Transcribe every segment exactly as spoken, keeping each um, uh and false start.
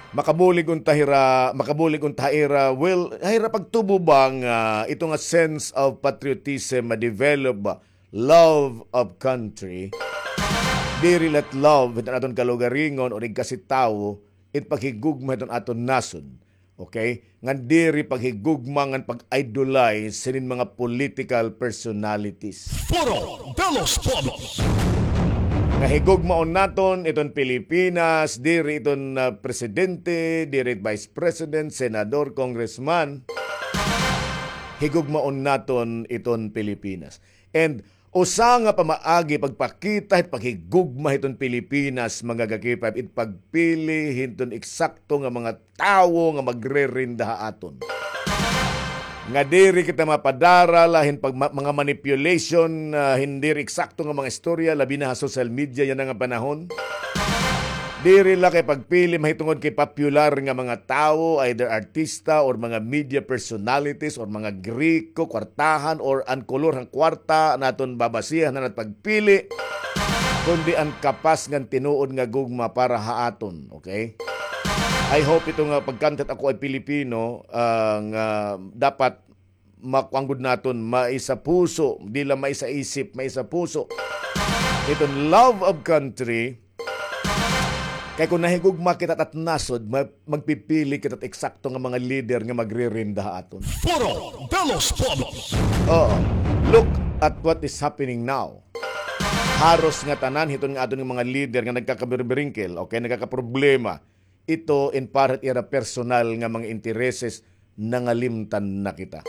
Makabulig unta hira, makabulig unta ha ira, well, ha ira pagtubo ba nga ito nga sense of patriotism ma-develop ba, love of country. Diri la it love hiton aton kalugaringon o igkasi tawo, it paghigugma hiton aton nasod. Okay? Ngan diri paghigugma ngan pag-idolize hinin mga political personalities. Foro de los Pueblos. Nga higugmaon naton iton Pilipinas, diri iton, ah, presidente, diri vice president, senador, congressman. Higugmaon naton iton Pilipinas. And usa nga pamaagi pagpakita hit paghigugma hiton Pilipinas, mga ka-K five, it pagpili hiton eksakto nga mga tawo nga magre-reinda ha aton. Nga diri kita mapadara la hin pag-, ma-, mga manipulation, ah, hin diri eksakto nga mga istorya, labi na ha social media yana nga panahon. Diri la kay pagpili mahitungod kay popular nga mga tawo, either artista or mga media personalities or mga Griko, kwartahan or an kolor han kwarta naton babasihan han pagpili, kundi an kapas ngan tinuod nga gugma para ha aton, okay? I hope ito nga pagkantat ako ay Pilipino, ah, nga dapat makuan gud naton, maisapuso, di la maisaisip, maisapuso. Iton love of country, kay kon nahigugma kita hit nasod, ma-, magpipili kita hit eksakto nga mga lider nga magre-reinda ha aton. Foro de los Pueblos. Oo. Look at what is happening now. Haros nga tanan hiton nga aton nga mga lider nga nagkakabirbiringkil, okay, nagkakaproblema. Ito in para hit ira personal nga mga intereses, nangalimtan na kita.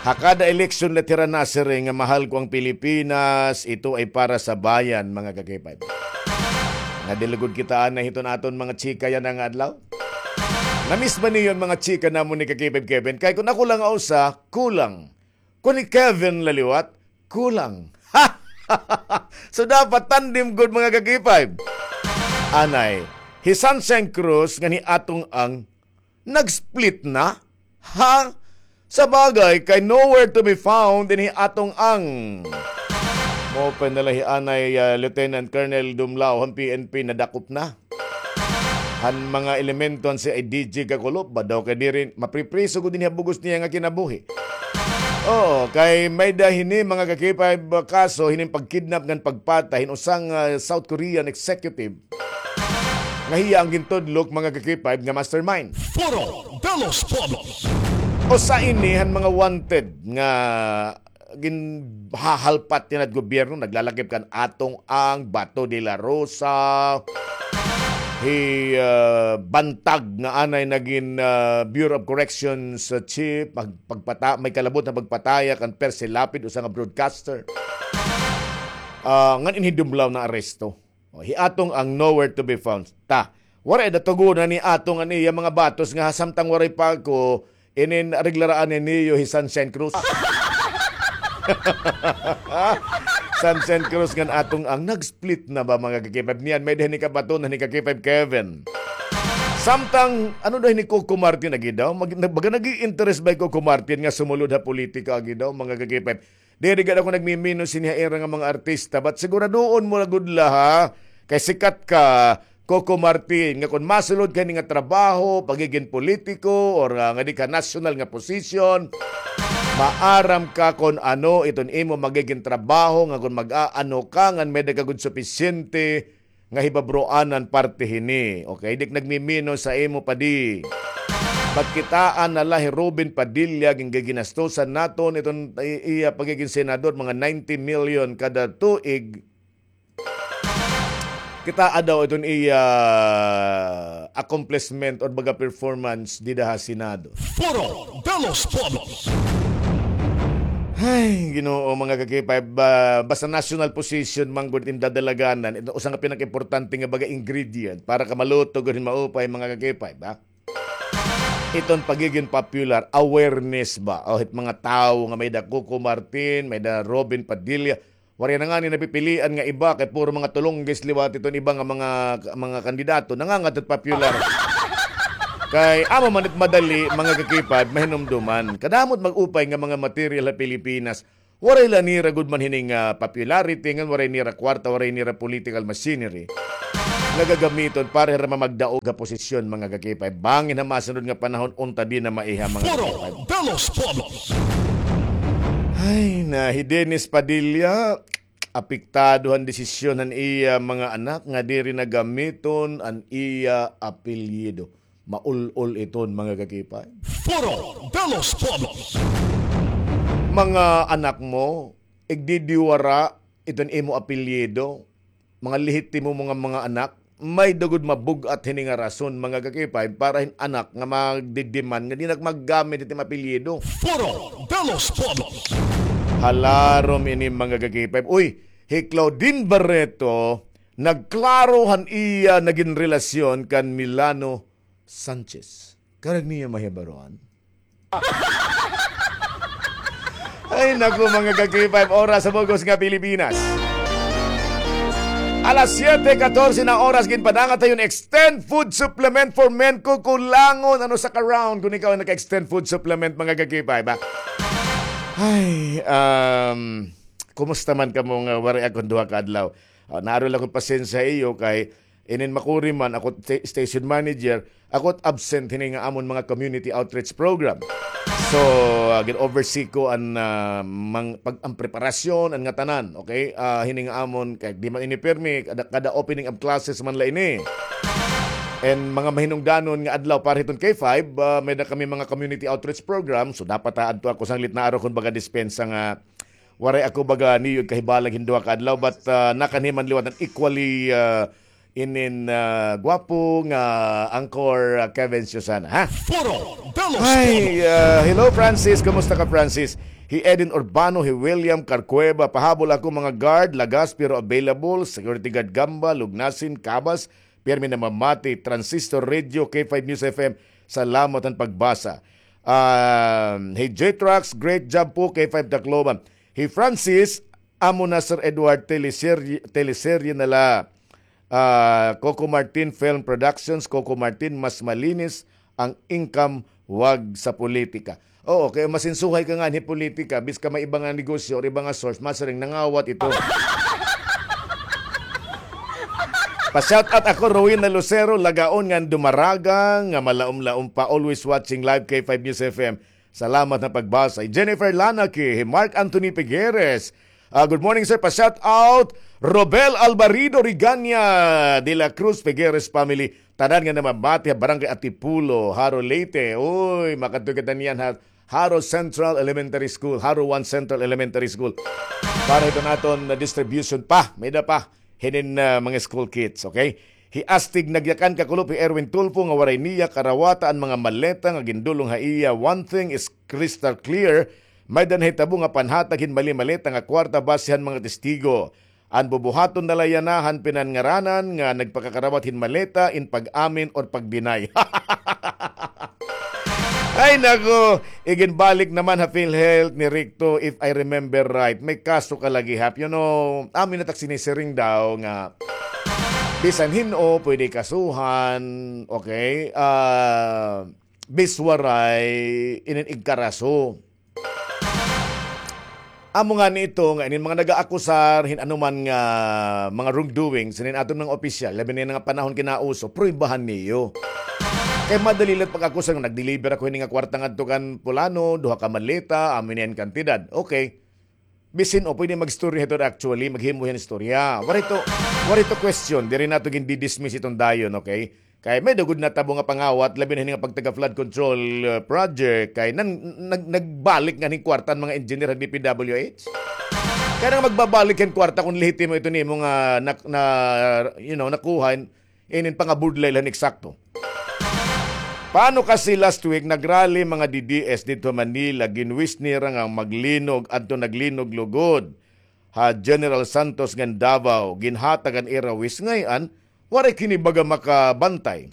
Ha kada eleksyon la hira nasiring nga mahal ko ang Pilipinas, ito ay para sa bayan, mga ka-K five. Nga dilugod kita anay hiton aton mga chika yana nga adlaw. Namiss ba niyo an mga chika namon ni ka-K five Kevin? Kay kon ako la nga usa, kulang. Kon ni Kevin la liwat, kulang. So dapat tandem gud, mga ka-K five. Anay, hi Sunshine Cruz ngan hi Atong Ang nag-split na? Ha? Sa bagay, kay nowhere to be found in hi Atong Ang. Maupay na la hi anay, ah, Lieutenant Colonel Dumlao han P N P nadakop na han mga elemento han C I D G kakulop ba daw kay diri mapripriso gud dinhi ha bug-os niya nga kinabuhi. Oo, kay may-ada hini, mga ka-K five, kaso hinin pagkidnap ngan pagpatay hin usa nga, ah, South Korean executive nga hiya an gintudlok, mga ka-K five, nga mastermind. Foro de los Pueblos. Usa ini han mga wanted nga ginhahalpat yana hit gobyerno, naglalakip kan Atong Ang, Bato de la Rosa, hi, ah, Bantag nga anay nagin, ah, Bureau of Corrections, ah, chief, mag-, pagpata-, may kalabot nga pagpataya kan Percy Lapid, usa nga broadcaster. Ah, ngan ini hi Dumlao naaresto. O, hi Atong Ang nowhere to be found. Ta, waray da tugonan ni Atong an iya mga batos nga samtang waray pa ako, inin areglaraan niyo hi Sunshine Cruz. Sunshine Cruz ngan Atong Ang nag-split na ba, mga ka-K five? Niyan, may-ada hini kabaton han hi ka-K five Kevin. Samtang, ano daw hini Coco Martin agi daw? Mag-, baga nag-i-interest ba hi Coco Martin nga sumulod ha politika agi daw, mga ka-K five? Diri gad ako nagmiminus hini ha ira nga mga artista, but siguraduon mo la gud la, ha? Kay sikat ka, Coco Martin, nga kon masulod ka hini nga trabaho, pagigin politiko, or, ah, ngadi ka national nga position, maaram ka kon ano iton imo magigin trabaho, nga kon mag-aano ka, ngan may-ada ka gud supisyente nga hibabroanan parte hini. Okay, di ak nagmiminus ha imo, padi. But kitaa na la hi Robin Padilla, gin-, giginastusan naton iton i-, iya pagigin senador, mga ninety million kada tuig. Kitaa daw iton iya accomplishment or baga performance dida ha Senado. Foro de los Pueblos. Ay, Ginoo, mga ka-K five, ba-, basta national position man gud in dadalaganan, ito usa nga pinakaimportante nga baga ingredient para ka maluto gud hin maupay, mga ka-K five, ha? Iton pagigin popular, awareness ba? O, hit mga tawo nga may-ada Coco Martin, may-ada Robin Padilla, waray na ngani napipilian nga iba, kay puro mga tulunggis liwat iton iba nga mga, mga kandidato, nangangadto hit popular. Kay amo man it madali, mga ka-K five, mahinumduman. Kadamo it mag-upay nga mga material ha Pilipinas, waray la nira gud man hini nga popularity, ngan waray nira kwarta, waray nira political machinery. nga gagamiton para hira mamagdaog ha posisyon, mga ka-K five. Bangin ha masunod nga panahon, unta di na maiha, mga Foro ka-K five. De los Pueblos. Ay, na, hi Dennis Padilla, apektado han desisyon han iya mga anak nga diri na gamiton an iya apelyido. Maul-ol iton, mga ka-K five. Foro de los Pueblos. Mga anak mo, igdidiwara iton imo apelyido, mga lehitimo mo nga mga anak, may-ada gud mabug-at hini nga rason, mga ka-K five, para hin anak nga magdidiman nga di na maggamit hit imo apelyido. Foro de los Pueblos. Halarom ini, mga ka-K five. Uy, hi Claudine Barreto, nagklaro han iya nagin relasyon kan Milano Sanchez. Karuyag niyo mahibaroan? Ay, naku, mga ka-K five, oras sa bug-os nga Pilipinas. Alas siyete katorse na oras, ginpadangat ha iyo hin Extend Food Supplement for Men. Kukulangon, ano sa ka-round kon ikaw an naka-Extend Food Supplement, mga ka-K five, ha? Ay, um, kumusta man kamo nga waray ako hin duha ka adlaw? Ah, naaro la ako hin pasensya ha iyo kay inin makuri man, ako sta-, station manager, ako it absent hini nga amon mga community outreach program. So, ah, gin-oversee ko an, ah, mang-, pag-, an preparasyon, an ngatanan, okay? Ah, hini nga amon, kay di man ini pirmi, kada, kada opening of classes man la ini. And mga mahinungdanon nga adlaw para hiton K five, ah, may-ada kami mga community outreach program, so dapat, ah, adto ako sanglit, naaro kon baga dispensa nga waray ako baga niyo kahibalag hin duha ka adlaw, but, ah, nakanhi man liwat an equally, ah, inin, ah, gwapo nga anchor, ah, Kevin Susana, ha? Foro de los Pueblos. Hi, ah, hello, Francis. Kumusta ka, Francis? Hi Eden Urbano, hi William Carcueva. Pahabol ako, mga guard, lagas pero available. Security guard Gamba, Lugnasin, Cabas. Pirmi namamati, Transistor Radio, K five News F M. Salamat han pagbasa. Ah, hi J-Trax, great job po, K five Tacloban. Hi Francis, amo na Sir Edward, teleserye, teleserye na la. Ah, Coco Martin Film Productions, Coco Martin, mas malinis ang income, wag sa politika. Oo, kay masinsuhay ka nga hi politika, bis ka may iba nga negosyo or iba nga source, masiring nangawat ito. Pa-shout out ako, Rowena Lucero, Lagaon, nga Dumaraga, nga malaom-laom pa, always watching live K five News F M. Salamat na pagbasa. Hi Jennifer Lanaki, hi Mark Anthony Figueres. Ah, good morning, sir. Pa-shout out, Robel Alvarido Rigania de la Cruz Figueres family. Tanan nga namamati ha Barangay Atipulo, Jaro, Leyte. Uy, makadto kita niyan ha Jaro Central Elementary School, Jaro one Central Elementary School. Para hiton aton na distribution pa, may-ada pa hinin, ah, mga school kits, okay? Hi Astig Nagyakan Kakulop, hi Erwin Tulfo nga waray niya karawata an mga maleta nga gindulong ha iya. One thing is crystal clear, may-ada nahitabo nga panhatag hin mali-maleta nga kwarta base han mga testigo. An bubuhaton na la yana han pinangaranan nga nagpakakarawat hin maleta in pag-amin or pag-deny. Ay, nako, iginbalik naman ha PhilHealth ni Ricto, if I remember right. May kaso ka lagi, Hap. You know, amin na tak sinisiring daw nga bisan hin-o, pwede kasuhan, okay? Ah, bis waray inin igkaraso. Amo ngani ito nga inin mga nagaakusar hin anuman nga mga wrongdoings hinin aton mga opisyal, labi na nga panahon kinauso, pruwebahan niyo. Kay madali la it pag-akusar nga nag-deliver ako hini nga kwarta ngadto kan pulano, duha ka maleta, amo ini an kantidad. Okay. Bisan hin-o pwede mag-istorya hito, actually, maghimo hin istorya. Waray to, waray to question, diri nato gindi-dismiss iton dayon, okay? Kay may-ada gud natabo nga pangawat, labi na hini nga pagtaga flood control, uh, project, kay nan-, nag-, nagbalik ngani hin kwarta an mga engineer ha D P W H. Kay ano nga magbabalik hin kwarta kon lehitimo ito nimo nga nak-, na, you know, nakuha, inin pangabudlay la hin eksakto. Paano kasi last week nag-rally mga D D S didto ha Manila, gin-wish nira nga maglinog, adto naglinog lugod ha General Santos ngan Davao, ginhatag an ira wish, ngay-an waray kini baga makabantay.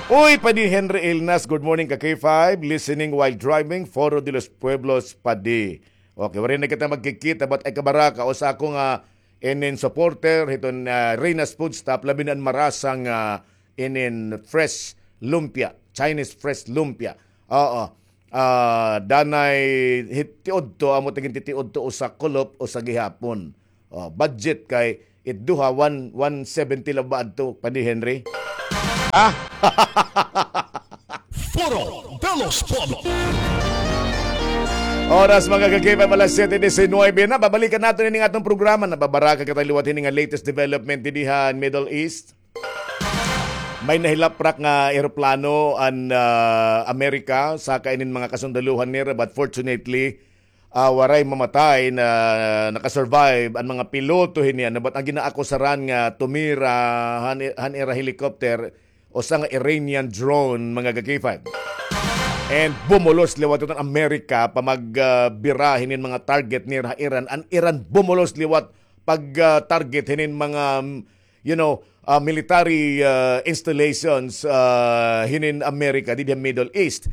Uy, Padi Henry Ilnas, good morning ka K five, listening while driving, Foro de los Pueblos, Padi. Okay, waray na kita magkikita, but ay kabaraka, usa ako nga inin supporter hiton, ah, Reyna's Food Stop, labi na an marasa nga inin fresh lumpia, Chinese fresh lumpia. Oo. Ah, danay hit-, tiudto, amo ta gintitiudto, usa kulop, usa gihapon. Oh, budget kay It duha, one, one seventy la ba adto, Padi Henry? Ah! Foro de los Pueblos. Oras, mga ka-K five, alas siyete disinuybe na. Babalikan naton ini nga aton programa. Nababaraka kita liwat hini nga latest development dinhi ha Middle East. May nahilaprak nga eroplano an, ah, Amerika, saka inin mga kasundaluhan nira, but fortunately, ah, waray mamatay, na naka-survive an mga piloto hini, ano, but an ginaakusaran nga tumira han, han ira helicopter, usa nga Iranian drone, mga ka-K five. And bumulos liwat iton Amerika, pamag, ah, bira hinin mga target nira ha Iran. An Iran bumulos liwat pag, ah, target hinin mga, mm, you know, ah, military, ah, installations, ah, hinin Amerika didi ha Middle East.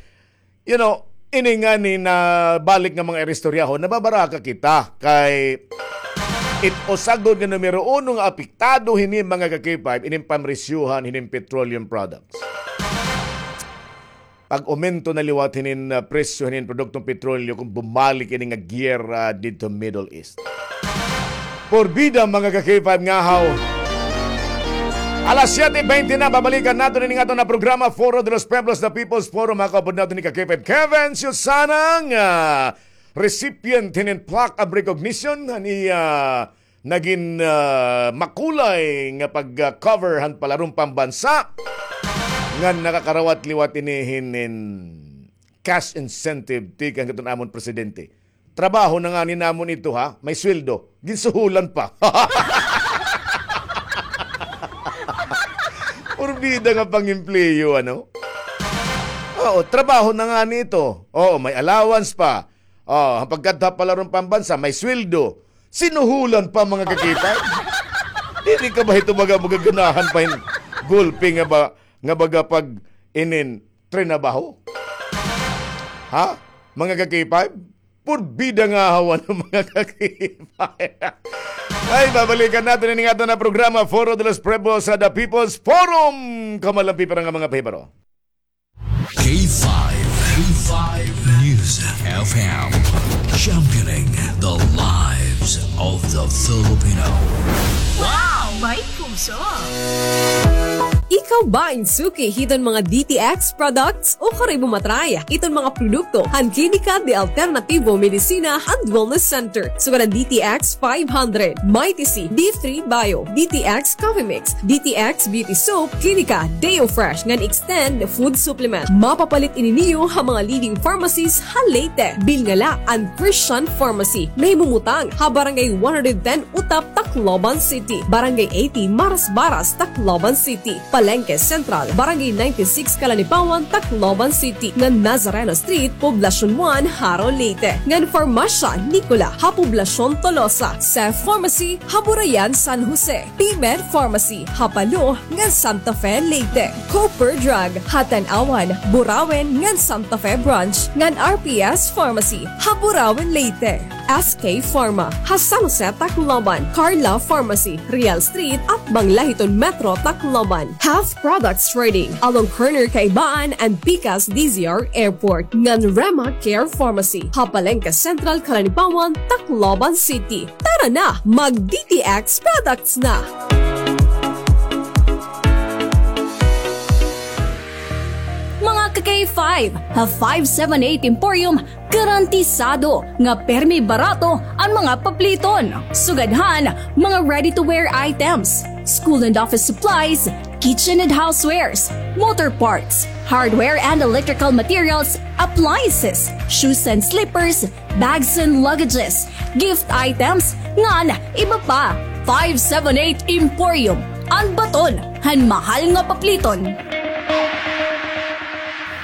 You know, ini ngani nabalik nga mga iristoryahon, nababaraka kita kay it usa gud nga numero uno nga apektado hini, mga ka-K five, inin pamresyuhan hinin petroleum products. Pag-umento na liwat hinin, ah, presyo hinin produktong petrolyo kon bumalik ini nga giyera didto Middle East. Porbida, mga ka-K five, ngahaw. Alas siyete bente na, babalikan naton ini nga aton nga programa, Foro de los Pueblos, the People's Forum. Makaupod naton ni ka-K five Kevin Susana nga recipient hinin plaque of recognition han iya nagin, ah, makulay nga pag-cover han palaron pambansa nga nakakarawat liwat ini hinin cash incentive tikang hiton amon presidente. Trabaho na ngani namon ito, ha? May sweldo. Ginsuhulan pa. Porbida nga pang-empleyo, ano? Oo, trabaho na ngani ito. Oo, may allowance pa. Oh, an pagkadto ha palaron pambansa, may sweldo. Sinuhulan pa, mga ka-K five. Diri ka ba ito baga magaganahan pa hin gulpi nga ba, nga baga pag inin trinabaho? Ha? Mga ka-K five? Porbida ngahaw, ano, mga ka-K five. Ay, babalikan naton ini nga aton nga programa, Foro de los Pueblos, sa The People's Forum. Kamalampi para nga mga pahibaro. K five, K five News F M, championing the lives of the Filipino. Wow! May puso! Ikaw ba in suki hiton mga D T X products? O karoy mo matry iton mga produkto han Klinika de Alternativo Medicina and Wellness Center, sugad han D T X five hundred, Mighty C, D three Bio, D T X Coffee Mix, D T X Beauty Soap, Klinika Deo Fresh, ngan Extend Food Supplement. Mapapalit ini niyo ha mga leading pharmacies ha Leyte. Bilnga la an Christian Pharmacy. Nahimumutang ha Barangay one hundred ten Utap, Tacloban City, Barangay eighty Marasbaras, Tacloban City, Palengke Central, Barangay ninety-six Calanipawan, Tacloban City, ngan Nazareno Street, Poblacion one, Jaro, Leyte, ngan Farmasya Nicola ha Poblacion Tolosa, Seth Pharmacy ha Burayan, San Jose, P-Med Pharmacy ha Palo ngan Santa Fe, Leyte, Cooper Drug ha Tanauan, Burauen ngan Santa Fe Branch, ngan R P S Pharmacy ha Burauen, Leyte. S K Pharma ha San Jose, Tacloban, Carla Pharmacy, Real Street, atbang la hiton Metro Tacloban. Health Products Trading, along corner Kaibaan and Pikas D Z R Airport, ngan Rema Care Pharmacy ha Palengke Central, Calanipawan, Tacloban City. Tara na, mag D T X products na! Mga ka-K five, ha five seven eight Emporium, garantisado nga permi barato an mga papliton. Sugad han mga ready-to-wear items, school and office supplies, kitchen and housewares, motor parts, hardware and electrical materials, appliances, shoes and slippers, bags and luggages, gift items, ngan iba pa. Five seven eight Emporium, an baton han mahal nga papliton.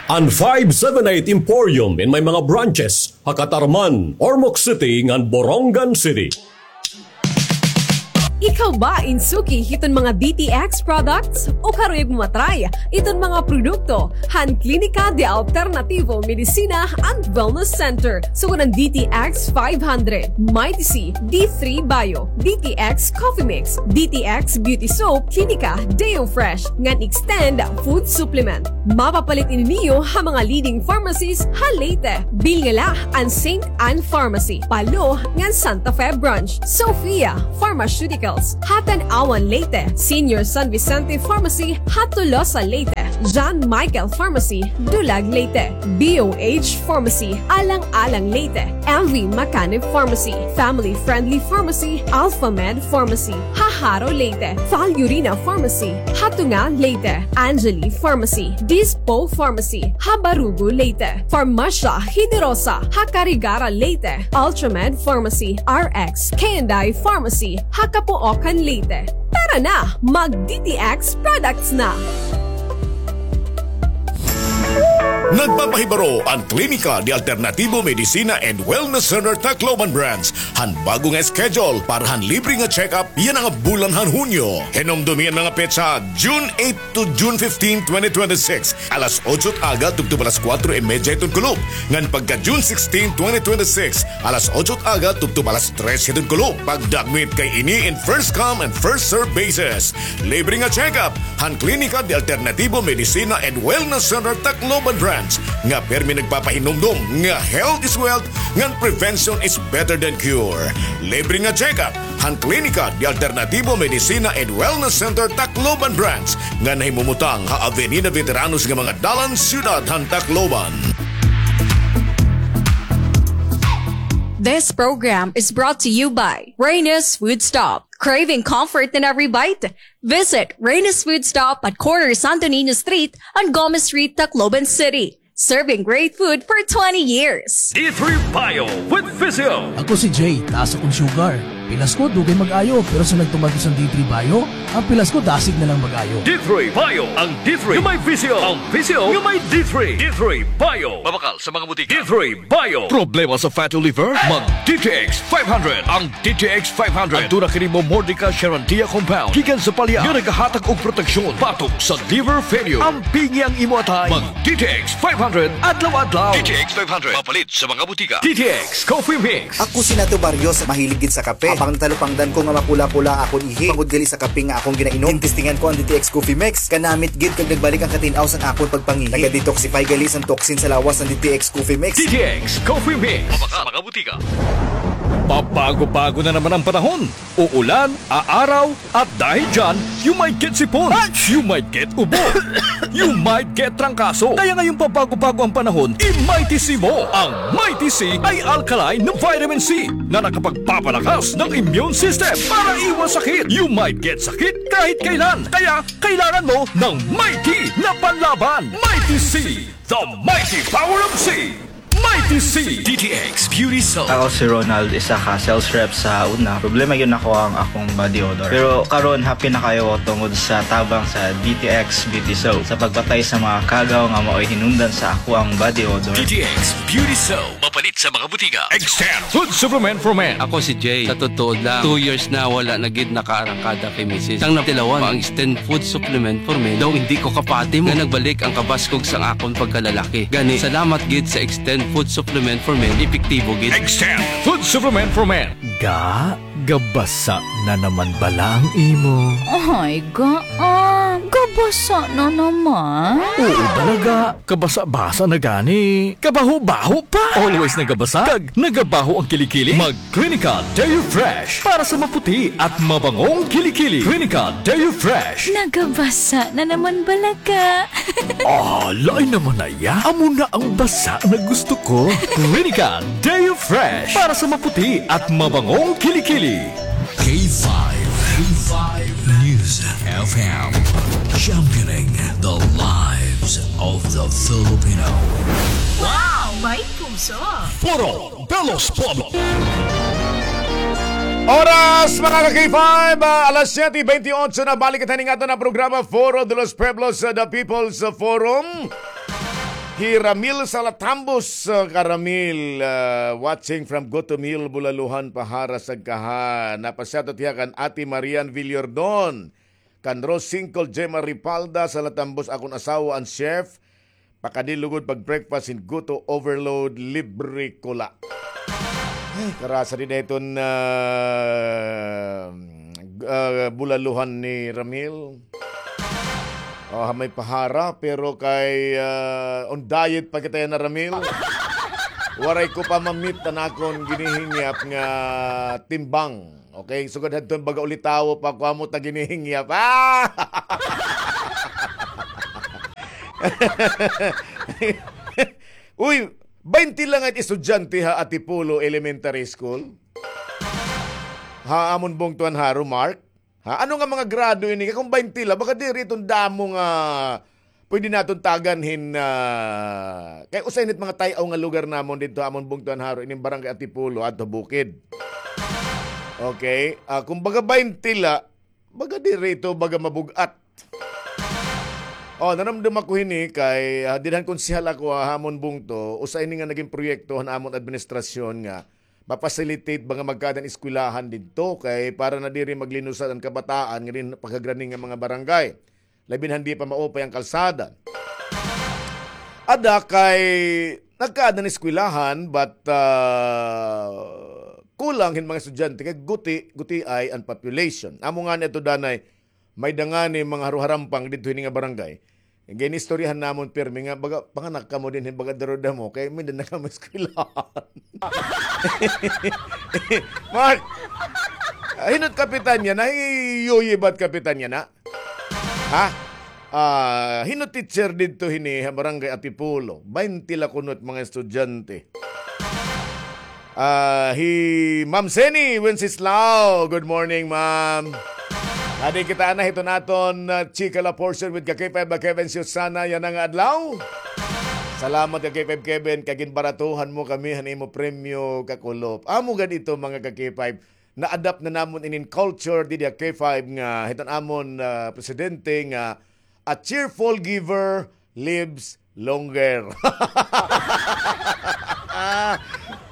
An five seven eight Emporium in may mga branches ha Catarman, Ormoc City, ngan Borongan City. Ikaw ba in suki hiton mga D T X products? O karuyag mo matry iton mga produkto han Klinika de Alternativo Medicina and Wellness Center, sugad han D T X five hundred, Mighty C, D three Bio, D T X Coffee Mix, D T X Beauty Soap, Klinika Deo Fresh, ngan Extend Food Supplement. Mapapalit ini niyo ha mga leading pharmacies ha Leyte. Bilnga la an Saint Ann Pharmacy, Palo, ngan Santa Fe Branch, Sofia Pharmaceutical, ha Tanauan, Leyte, Senior San Vicente Pharmacy ha Tolosa, Leyte, John Michael Pharmacy, Dulag, Leyte, B O H Pharmacy, Alang-alang, Leyte, M V Macanib Pharmacy, Family Friendly Pharmacy, Alphamed Pharmacy, ha Jaro, Leyte, Falurina Pharmacy, ha Tunga, Leyte, Angeli Pharmacy, Dispo Pharmacy, ha Barugo, Leyte, Farmacia Generosa, ha Carigara, Leyte, Ultramed Pharmacy, R X K and I Pharmacy, ha Capoocan, Leyte. Tara na, mag D T X products na! Nagpapahibaro an Klinika de Alternativo Medicina and Wellness Center Tacloban Branch han bago nga schedule para han libre nga check-up yana nga bulan han Hunyo. Hinumdomi an mga petsa, June eight to June fifteen, twenty twenty-six, alas otso it aga tubtob alas kuwatro y medya hiton kulop. Ngan pagka June sixteen, twenty twenty-six, alas otso it aga tubtob alas tres hiton kulop. Pagdakmit kay ini in first come and first serve basis. Libre nga check-up han Klinika de Alternativo Medicina and Wellness Center Tacloban Branch nga pirmi nagpapahinumdom nga health is wealth ngan prevention is better than cure. Libre nga check-up han Klinika de Alternativo Medicina and Wellness Center Tacloban Branch nga nahimumutang ha Avenida Veteranos nga mga dalan, siyudad han Tacloban. This program is brought to you by Reyna's Food Stop. Craving comfort in every bite? Visit Reyna's Food Stop at corner Santo Niño Street and Gomez Street, Tacloban City. Serving great food for twenty years. D three Bio with Physio. Ako si Jay, taas akon sugar. Pilas ko, dugay mag-ayo, pero sa nagtuman ko sa D three Bio, an pilas ko dasig na lang mag-ayo. D three Bio, ang D three nga may Physio, ang Physio nga may D three. D three Bio. Mabakal sa mga butika. D three Bio. Problema sa fatty liver? Mag D T X five hundred. Ang D T X five hundred. Aduna kini Momordica charantia compound gikan sa palya nga nagahatag og proteksyon batok sa liver failure. Ampingi ang imo atay. Mag D T X five hundred adlaw-adlaw. D T X five hundred. Mapalit sa mga butika. D T X Coffee Mix. Ako si Nato Barrios, mahilig gid sa kape. Habang natalupangdan ko nga mapula-pula akon ihi, bangod gali sa kape nga akon ginainom, gintistingan ko an D T X Coffee Mix. Kanamit gid kag nagbalik ang katin-aw san akon pagpangihi. Naga-detoxify gali san toxin sa lawas an D T X Coffee Mix. D T X Coffee Mix. Mabakal sa mga butika. Pabago-bago na naman ang panahon. Uulan, aaraw, at dahil dyan, you might get sipon, you might get ubo, you might get trangkaso. Kaya ngayong pabago-bago ang panahon, i-Mighty C mo. Ang Mighty C ay alkaline na vitamin C na nakapagpapalakas ng immune system para iwas sakit. You might get sakit kahit kailan. Kaya kailangan mo ng Mighty na panlaban. Mighty C, the mighty power of C. Mighty C. D T X Beauty Soap. Ako si Ronald, isa ka sales rep sa una. Problema gyud nako ang akong body odor. Pero karon, happy na kaayo ko tungod sa tabang sa D T X Beauty Soap sa pagpatay sa mga kagaw nga maoy hinungdan sa akoang body odor. D T X Beauty Soap. Mapalit sa mga butika. Extend Food Supplement for Men. Ako si Jay. Sa totoo lang, two years na wala na gid nakaarangkada kay misis. Sang natilawan, ang Extend Food Supplement for Men daw hindi ko kapati mo. Nga nagbalik ang kabaskog sang akon pagkalalaki. Gani, salamat gid sa Extend Food Supplement for Men, epektibo gid. Extend Food Supplement for Men. Ga, gabasa na naman bala ang imo. Ay, ga, ah, gabasa na naman. Oo bala, ga, kabasa-basa na gani. Kabaho-baho pa. Always nagabasa kag nagabaho ang kilikili? Mag Clinica Deo Fresh para sa maputi at mabangong kilikili. Clinica Deo Fresh. Nagabasa na naman bala, ga. Ah, lain naman na iya. Amo na ang basa na gusto ko. Clinica Deo Fresh para sa maputi at mabangong kilikili. K five, K five News F M, championing the lives of the Filipino. Wow! May puso! Forum de los Pueblos. Oras, mga ka-K five, ah, alas siyete bentiocho na. Balik kita ning aton nga programa, Foro de los Pueblos, ah, The People's Forum. Hi Ramil Salatambos, ah, ka Ramil, ah, watching from Gutumil, Bulaluhan, Pahara, Sagkaha. Napa-shoutout hiya kan Ate Marian Villordon, kan Rose Singkol, Gemma Ripalda, Salatambos, akon asawa, an chef. Pakadi lugod pag-breakfast hin Guto Overload, libre ko la. Ay, karasa dida hiton, ah, ah, Bulaluhan ni Ramil. Oh, ha may Pahara, pero kay, ah, on diet pa kita yana, Ramil. Waray ko pa ma-meet an akon ginihingyap nga timbang. Okay, sugad hadton baga ulitawo pa, kuha mo ta ginihingyap. Ah! Uy, baynte la nga it estudyante ha Antipolo Elementary School. Ha amon bungto han Haro, Mark. Ha, ano nga mga grado ini? Kay kon baynte la, baga diri iton damo nga pwede naton tagan hin, ah, kay usa ini hit mga tay-aw nga lugar namon didto ha amon bungto han Haro, ining Barangay Antipolo, adto bukid. Okay? Ah, kon baga baynte la, baga diri ito, baga mabug-at. Oh, nanumdom ako hini kay, ah, dida han konsehal ako, ah, ha amon bungto, usa ini nga naging proyekto han amon administrasyon nga ma-facilitate ba nga magkaada hin eskwelahan didto kay para na diri maglinusan an kabataan nganhi pagkagrani nga mga barangay. Labi na hindi pa maupay an kalsada. Ada kay nagkaada hin eskwelahan, but, ah, kulang hin mga estudyante kay guti, gutiay an population. Amo ngani ito danay, may-ada ngani mga haruharampang didto hini nga barangay. Ginistoryahan namon pirmi nga, baga, panganak kamo dinhi, baga duro-damo, kay may-ada na kamo eskwelahan. Mark, ah, hin-o it kapitan yana? Hi Yoyi ba it kapitan yana? Ha? Ah, hin-o it teacher didto hini ha Barangay Antipolo? Baynte la kuno it mga estudyante. Ah, hi Ma'am Seni Wenceslao. Good morning, ma'am. Adi kita na hiton aton, ah, Chika La portion with ka K five, ah, Kevin Susana yana nga adlaw. Salamat ka K five Kevin, kay ginbaratuhan mo kami han imo premyo, kakulop. Amo gad ito, mga ka K five. Na-adapt na namon inin culture didi ha K five nga hiton amon, ah, presidente nga a cheerful giver lives longer.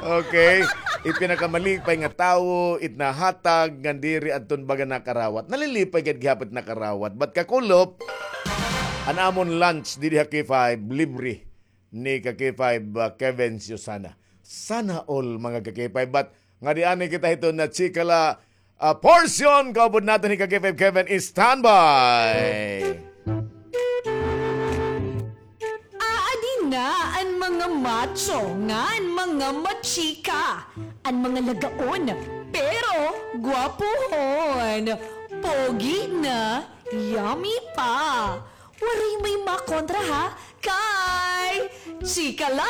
Okay. It pinakamalipay nga tawo, it nahatag ngan diri adton baga nakarawat. Nalilipay gad gihapon it nakarawat. But kakulop, an amon lunch didi ha K five, libre ni ka K five, ah, Kevin Susana. Sana all, mga ka K five. But ngadi anay kita hiton na Chika La, ah, portion, kaupod naton hi ka K five Kevin, standby. Aadi na an mga macho ngan mga machika, an mga lagaon, pero gwapohon, pogi na, yummy pa. Waray may makontra, ha? Kay Chika La!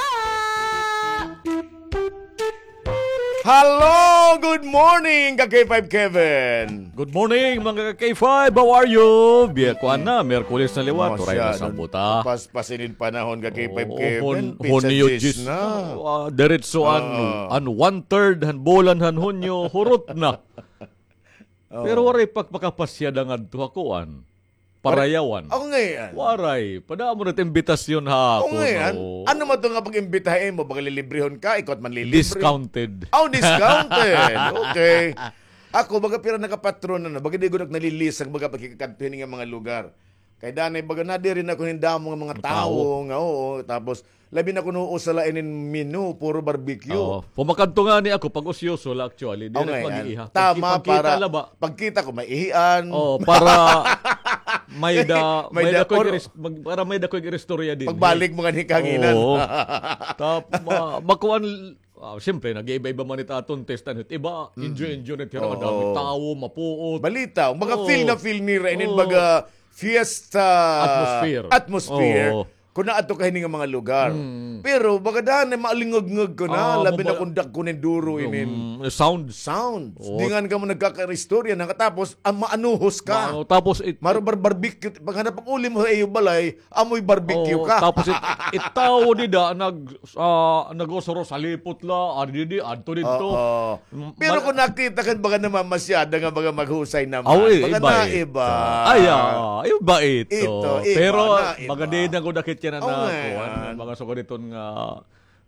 Hello! Good morning, ka K five Kevin! Good morning, mga ka K five! How are you? Biya, kuan na, Miyerkules na liwat, waray na sambuta. Paspas inin panahon, ka K five Kevin, pitsa diyes na. Ah, diretso an, an one-third han bulan han Hunyo, hurot na. Pero waray pagpakapasyada ngadto ha kuan. Parayawan. Ako ngay-an. Waray. Padamo na it imbitasyon ha ako. Ako ngay-an. Ano man to nga pag-imbitahan mo, baga lilibrehon ka, ikaw it manlilibre. Discounted. Oh, discounted. Okay. Ako, baga pira na ka patron na, baga di gud ak nalilisag, baga pagkikadto hini nga mga lugar. Kay danay, baga nadiri na ko hin damo nga mga tawo nga, oo. Tapos, labi na kuno usa la inin menu, puro barbecue. Oo. Pumakadto ngani ako, pag-usyoso la actually. Di na mag-iiha. Tama, para pagkita ko, maihian. Oo, para may da, may da ko mag-, para may da ko iristorya dinhi. Pagbalik mo ngani kahanginan. Oo. Tap-, ma-, makuan, ah, siyempre, nag-iiba-iba man it aton taste, ano, it iba, enjoy-enjoy na it hira, madamo tawo, mapuot. Balita, mga feel na feel nira inin baga fiesta atmosphere. Atmosphere. Oo. Kon naadto ka hini nga mga lugar. Pero baga danay maalingagngag ka na, labi na kon dagko na hin duro inin sound. Sound. Oo. Di ngani kamo nagkakaristorya na, katapos, ah, maanuhos ka. Tapos it, maro bar-, barbecue, paghanap pag-uli mo ha iyo balay, amoy barbecue ka. Tapos it, it tawo dida nag-, ah, nag-uros-uros, halipot la, adi didi, adto didto. Oo. Pero kon nakita ka hin baga namamasyada nga baga maghusay naman, baga naiba. Ay, ah, iba ito. Ito, iba. Pero baga di na gud ak it yana na kuan, mga sugad hiton nga,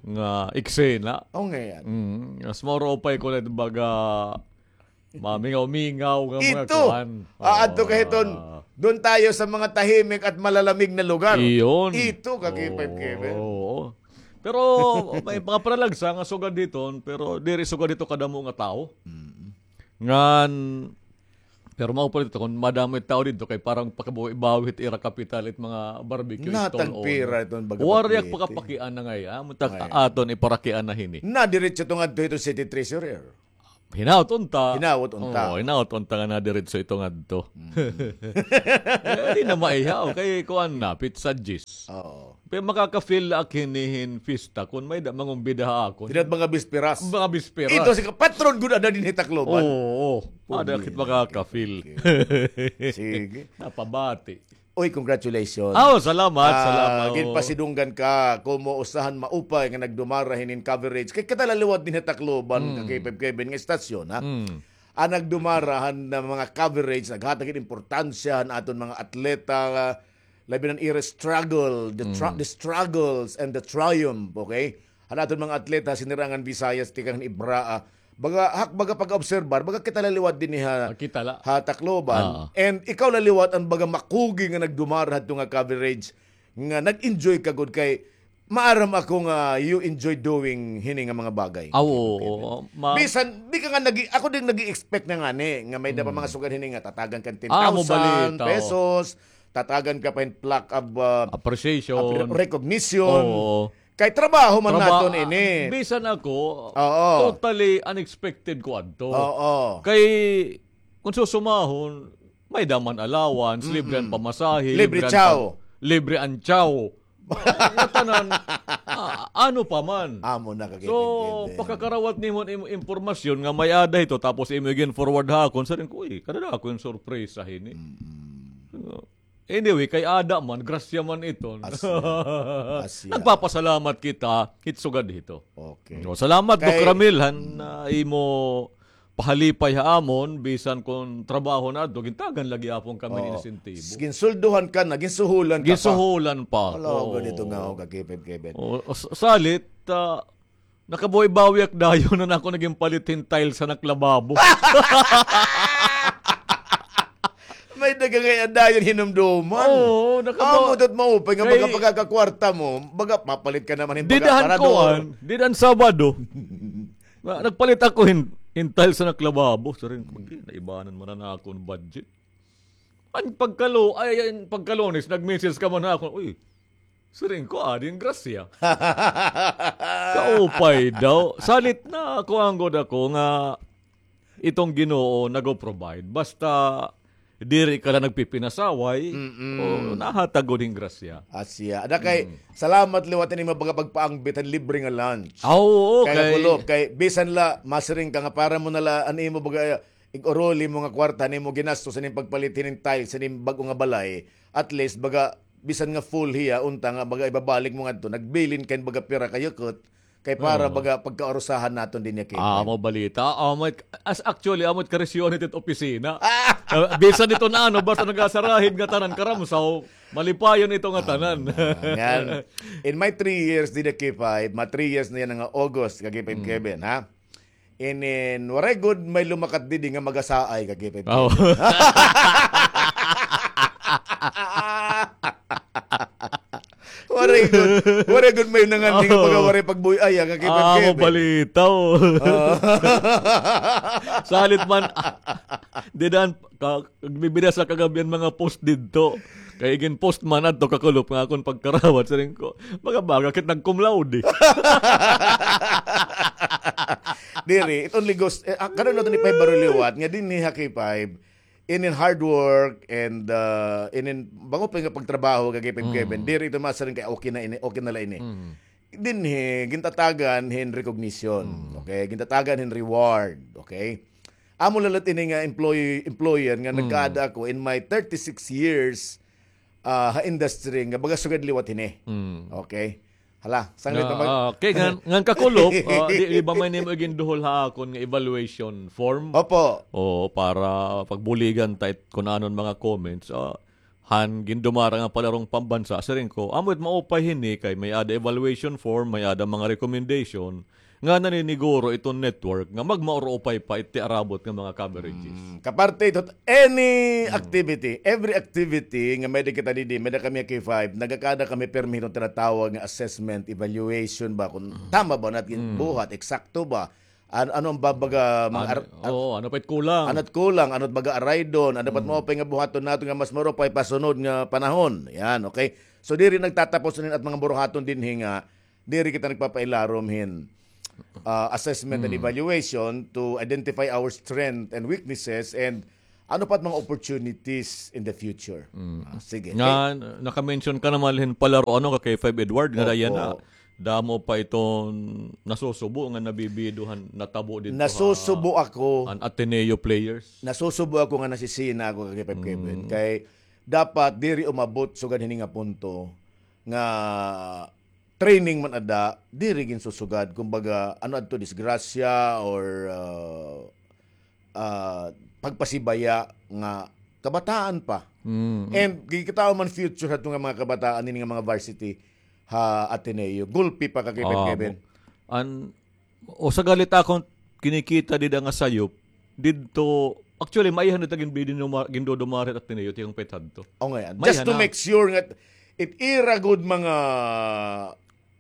nga eksena. Oo ngay-an. Mm, mas maupay kon baga mamingaw-mingaw nga mga kuan. Ito. Aadto ka hiton, doon tayo sa mga tahimik at malalamig na lugar. Iyon. Ito, ka K five Kevin. Oo. Pero may mga panalagsa nga sugad hiton, pero diri sugad hito kadamo nga tawo. Ngan, pero mao pa ito, kon madamo it tawo didto, kay parang pakabawi-bawi hit ira kapital, it mga barbecue stall owner. Natagpira iton baga. Waray ak pakapakiana ngay-an, ah, muntak aton iparakiana hini. Nadiretso ito ngadto hito city treasurer. Hinaot unta. Hinaot unta. Oo, hinaot unta nga nadiretso ito ngadto. Mm. Eh, di na maihaw. Kay kuan na, pizza gis. Oo. Pero makaka-feel la ak hini hin fiesta kun may-ada mangumbida ha akon. Diri mga bisperas. Mga bisperas. Ito si kapatron gud ada dinhi Tacloban. Oo, oo. Ada kit makaka-feel. Okay. Sige. Napabati. Uy, congratulations. Aw, salamat, salamat. Ginpasidunggan ka, komo usahan maupay nga nagdumara hinin coverage. Kay kita la liwat dinhi Tacloban, ka K five Kevin, nga istasyon, ha? An nagdumara han mga coverage, naghatag hin importansya han aton mga atleta, labi na an ira struggle, the, the struggles and the triumph, okay? Han aton mga atleta, sinirangan Visayas, tikang han Ibraa, baga, hak, baga pag-obserbar, baga kita la liwat dinhi ha, ha Tacloban. And ikaw la liwat an baga makugi nga nagdumara hadto nga coverage, nga nag-enjoy ka gud kay maaram ako nga you enjoy doing hini nga mga bagay. Aw, oo. Bisan, di ka nga nag-, ako din nag-i-expect na ngani, nga may-ada pa mga sugad hini nga tatagan ka hin ten thousand pesos, tatagan ka pa hin plaque of, ah, appreciation, of re-, recognition. Oo. Kay trabaho man naton ini. Bisan ako, totally unexpected ko adto. Oo. Kay, kung susumahon, may-ada man allowance, libre an pamasahe, libre an chow. Libre an chow. Nga tanan, ah, ano pa man. Amo na ka. So, pagkakarawat nimo hin im-, impormasyon nga may-ada hito, tapos imo igin-forward ha akon, siring ko, uy, kadadako hin sorpresa hini. So, anyway, kay ada man, grasya man iton. Asya. Asya. Nagpapasalamat kita, hit sugad hito. Okay. So, salamat, Doc Ramil, han, ah, imo pahalipay ha amon, bisan kon trabaho na adto, gintagan la gihapon kami hin insentibo. Ginsulduhan ka na, ginsuhulan ka pa. Ginsuhulan pa. Ala, ganito nga ako, ka K five Kevin. Oo, s-, salit, ah, nakabawi-bawi ak dayon nga ako nagin palit hin tiles han ak lababo. May daga nga dayon hinumduman. Oo, nakabawi. Amo ito't maupay nga baga pagkakakwarta mo, baga papalit ka naman hin baga parador. Dida han kuan, dida han Sabado. Na, nagpalit ako hin, hin tiles han ak lababo. Siring ko, "Naibanan man an akon budget." An pagkalo-, ay, ay, an pagkalunes, nag-message ka man ha akon, "Uy," siring ko, "adi an grasya." Kaupay daw. Salit na kuan gud ako nga iton Ginoo nag-o-provide. Basta diri ka la nagpipinasaway, o nahatag gud hin grasya. Asya. Ada kay, salamat liwat hini mga baga pagpaangbit han libre nga lunch. Ah, oo, kay nakulop, kay bisan la, masiring ka nga para mo na la, an imo baga, ig-uruli mo nga kwarta, an imo ginastos, an imo pagpalit hinin tiles, an imo bag-o nga balay, at least, baga, bisan nga full hiya, unta nga, baga, ibabalik mo ngadto, nagbilin ka hin baga pira ka yukot, kay para baga pagkaurusahan naton dinhi, K five. Ah, amo balita. Amo it, as, actually, amo it karisyohan hit opisina. Ah, bisan ito na ano, basta nagasarahid nga tanan karamsaw, malipayon ito nga tanan. Ah, ngan, in my three years dinhi, K five, ma three years na yana nga August, ka K five Kevin, ha? Inin, waray gud may lumakat didi nga magasaay, ka K five Kevin. Waray gud. Waray gud may nanganhi nga pagwaray pagbuy-ay, ah, ka K five Kevin. Amo balita, o. Salit man, dida han, ka-, nagbibida sa kagab-i an mga post didto. Kay igin-post man adto kakulop nga akon pagkarawat, siring ko, baga-baga kit nag-cum laude. Diri, it only goes, eh, ah, karon naton ipahibaro liwat, nga dinhi ha K five, inin hard work and, ah, inin maupay nga pagtrabaho, ka K five Kevin. Diri ito masiring kay okay na ini, okay na la ini. Dinhi, gintatagan hin recognition. Okay? Gintatagan hin reward. Okay? Amo la liwat ini nga employee, employer nga nagkaada ako in my thirty-six years, ah, ha industry nga baga sugad liwat hini. Okay? Hala, sanglit na mag- ah, okay, ngan, ngan kakulop, ah, di, di ba may nimo iginduhol ha akon nga evaluation form? Opo. O, para pagbuligan ta it kun ano an mga comments. Ah, han gindumara nga palarong pambasa, siring ko, amo it maupay hini kay may-ada evaluation form, may-ada mga recommendation, nga naniniguro iton network nga magmauro-upay pa it tiarabot nga mga coverages. Mm, kaparte ito, any activity, every activity nga may-ada kita didi, may-ada kami K five, nagakada kami pirmi hiton tinatawag nga assessment, evaluation ba, kung tama ba naton buhat, eksakto ba, An-, ano an babaga, mga ar-, ar-, oo, ano pa it kulang? Ano it kulang? Ano it baga araydon? Ano pa it maupay nga buhaton naton nga mas maupay pa sunod nga panahon? Yan, okay? So, diri nagtatapos inin at mga buruhaton dinhi nga, diri kita nagpapailarom hin, ah, assessment and evaluation to identify our strength and weaknesses and ano pa it mga opportunities in the future. Ah, sige. Nga, naka-mention ka naman hin palaro, ano, ka K five Edward, nga dayan na. Damo pa iton nasusubo nga nabibido han natabo didto ha Nasusubo ako. An Ateneo players. Nasusubo ako nga nasisina ako, ka K five Kevin. Kay dapat diri umabot sugad hini nga punto nga training man ada, diri ginsusugad. Kumbaga, ano adto, disgrasya or, ah, ah, pagpasibaya nga kabataan pa. And kikitaon man future hadto nga mga kabataan ini nga mga varsity ha Ateneo. Gulpi pa ka Kevin. An, o sa galit akon kinikita dida nga sayop, didto, actually, maihan dita ginbidin-, gindodomar it Ateneo, tiyang pet hadto. O, ngay-an. Just to make sure nga it ira gud mga